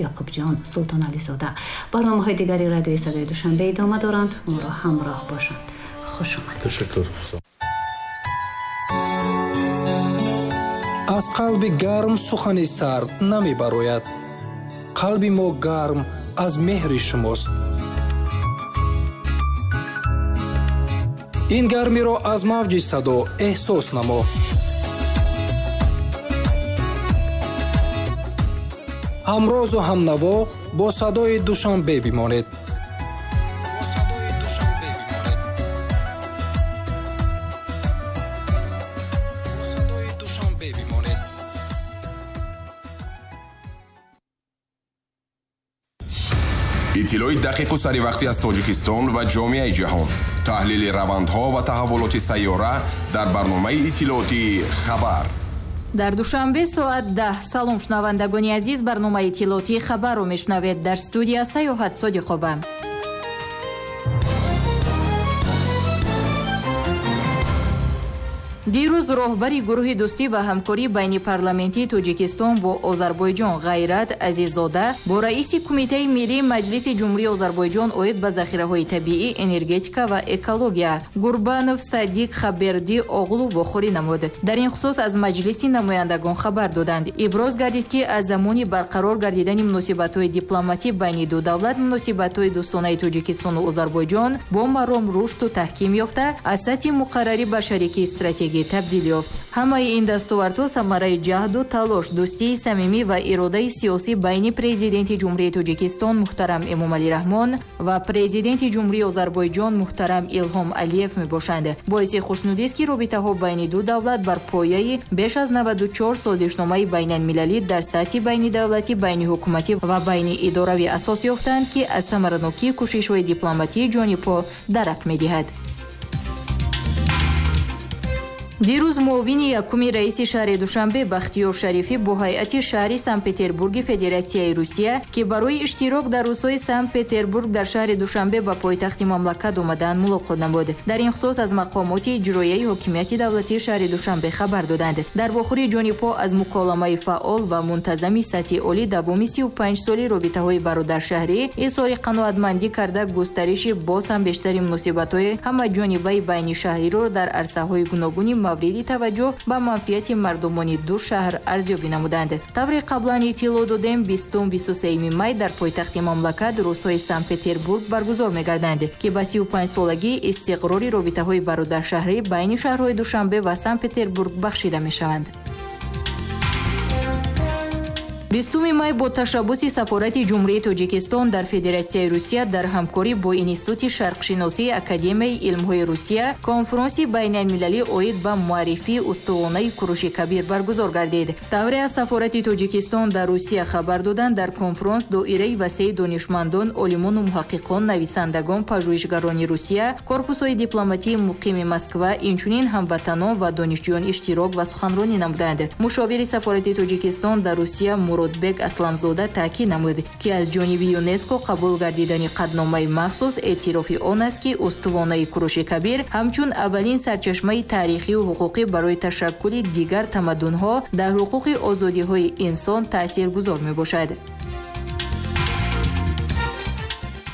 Ёқубҷон Султонализода. Барномаҳои дигари радиои Садои Душанбе идома доранд. Моро ҳамроҳ бошанд. Хуш омадед. Ташаккур. Аз қалби гарм сухани сард намебарояд. Қалби мо гарм аз меҳри шумост. Ин гармиро аз мавҷи садо эҳсос намо. Ҳамрозу ҳамнаво бо садои Душанбе бимонед. Иттилои дақиқу саривақтӣ аз Тоҷикистон ва ҷомеаи ҷаҳон, таҳлили равандҳо ва таҳаввулоти сайёра дар барномаи иттилоотии «Хабар». Дар Душанбе соат 10. Салом, шунавандагони азиз, барномаи иттилоотии «Хабарро» мешунавед. Дар студия Саёҳат Содиқова. Дирӯз роҳбари гурӯҳи дӯстӣ ва ҳамкорӣ байни парламентии Тоҷикистон бо Озарбойҷон Ғайрат Азиззода бо раиси Кумитаи миллии Маҷлиси Ҷумҳурии Озарбойҷон оид ба захираҳои табиӣ, энергетика ва экология Гурбанов Садиқ Хаберди оғлу вохӯрӣ намуд. Дар ин хусус аз Маҷлиси намояндагон хабар доданд. Иброз гардид, ки аз замони барқарор гардидани муносибатҳои дипломатӣ байни ду давлат муносибатҳои дӯстонаи Тоҷикистону Озарбойҷон бо маром рушду таҳким ёфта, аз сатҳи муқаррарӣ ба шарики стратегӣ табдил ёфт. Ҳамаи ин дастовардҳо самараи ҷаҳду талош, дӯстии самимӣ ва иродаи сиёсӣ байни Президенти Ҷумҳурии Тоҷикистон муҳтарам Эмомалӣ Раҳмон ва Президенти Ҷумҳурии Озарбойҷон муҳтарам Илҳом Алиев мебошанд. Боиси хушнудист, ки робитаҳо байни ду давлат бар пояи беш аз 94 созишномаи байналмилалӣ дар сатҳи байнидавлатӣ, байниҳукуматӣ ва байниидоравӣ асос ёфтаанд, ки аз самаранокии кӯшишҳои дипломатии ҷонибҳо дарак медиҳад. Дирӯз муовини якуми раиси шаҳри Душанбе Бахтиёр Шарифӣ бо ҳайати шаҳри Санкт-Петербурги Федератсияи Русия, ки барои иштирок дар рӯзҳои Санкт-Петербург дар шаҳри Душанбе ба пойтахти мамлакат омадаанд, мулоқот намуд. Дар ин хусус аз мақомоти иҷроияи ҳокимияти давлатии шаҳри Душанбе хабар доданд. Дар вохӯрии ҷонибҳо аз муколамаи фаъол ва мунтазами сатҳи олӣ давоми 35 соли робитаҳои бародаршаҳрӣ изҳори қаноатмандӣ карда, густариши боз ҳам бештари муносибатҳои ҳамаҷонибаи байнишаҳриро дар арсаҳои гуногуни мавриди таваҷҷӯҳ ба манфиати мардумони ду шаҳр арзёбӣ намуданд. Тавре қаблан иттилоъ додем, 20-23 май дар пойтахти мамлакат рӯзҳои Санкт-Петербург баргузор мегарданд, ки ба 35-солагии истиқрори робитаҳои бародаршаҳрӣ байни шаҳрҳои Душанбе ва Санкт-Петербург бахшида мешаванд. 20 май бо ташаббуси Сафорати Ҷумҳурии Тоҷикистон дар Федератсияи Русия дар ҳамкорӣ бо Институти шарқшиносии Академияи илмҳои Русия конфронси байналмилалӣ оид ба муаррифии устувонаи Куруши Кабир баргузор гардид. Тавре аз Сафорати Тоҷикистон дар Русия хабар доданд, дар конфронс доираи васеи донишмандон, олимону муҳаққиқон, нависандагон, пажӯҳишгарони Русия, корпусҳои дипломатии муқими Москва, инчунин ҳамватанон ва донишҷӯён иштирок ва суханронӣ намуданд. Мушовири Сафорати Тоҷикистон дар Русия Муродбек Асламзода таъкид намуд, ки аз ҷониби ЮНЕСКО қабул гардидани қадномаи махсус эътирофи он аст, ки устувонаи Куруши Кабир ҳамчун аввалин сарчашмаи таърихию ҳуқуқӣ барои ташаккули дигар тамаддунҳо дар ҳуқуқи озодиҳои инсон таъсиргузор мебошад.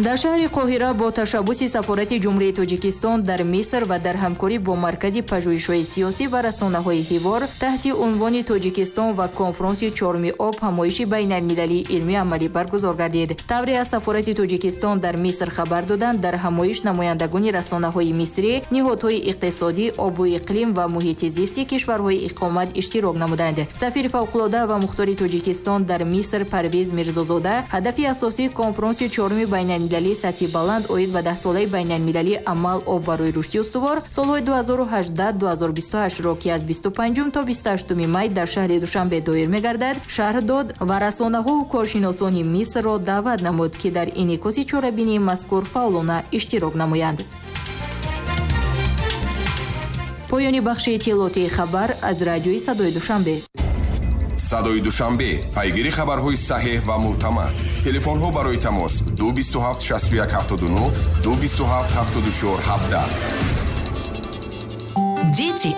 Дар шаҳри Қоҳира бо ташаббуси Сафорати Ҷумҳурии Тоҷикистон дар Миср ва дар ҳамкорӣ бо Маркази пажӯҳишҳои сиёсӣ ва расонаҳои ҳивор таҳти унвони Тоҷикистон ва конфронси чорми об ҳамоиши байналмилалии илмии амалӣ баргузор гардид. Тавре аз Сафорати Тоҷикистон дар Миср хабар доданд, дар ҳамоиш намояндагони расонаҳои мисрӣ, ниҳодҳои иқтисодӣ, обу иқлим ва муҳити зисти кишварҳои иқомат иштирок намуданд. Сафири фавқулода ва мухтори Тоҷикистон дар Миср Парвиз Мирзозода ҳадафи асосии конфронси чорми байналмилалии сатҳи баланд оид ба даҳсолаи байналмилалии амал об барои рушди устувор солҳои 2018-2028-ро, ки аз 25 то 28 май дар шаҳри Душанбе доир мегардад, шарҳ дод ва расонаҳову коршиносони Мисрро даъват намуд, ки дар инъикоси чорабинии мазкур фаъолона иштирок намоянд. Поёни бахши иттилоотии хабар аз радиои Садои Душанбе. Садои Душанбе, пайгири хабарҳои саҳеҳ ва мӯътамад. Телефонҳо барои тамос 227 61 79, 227 74 17. Дети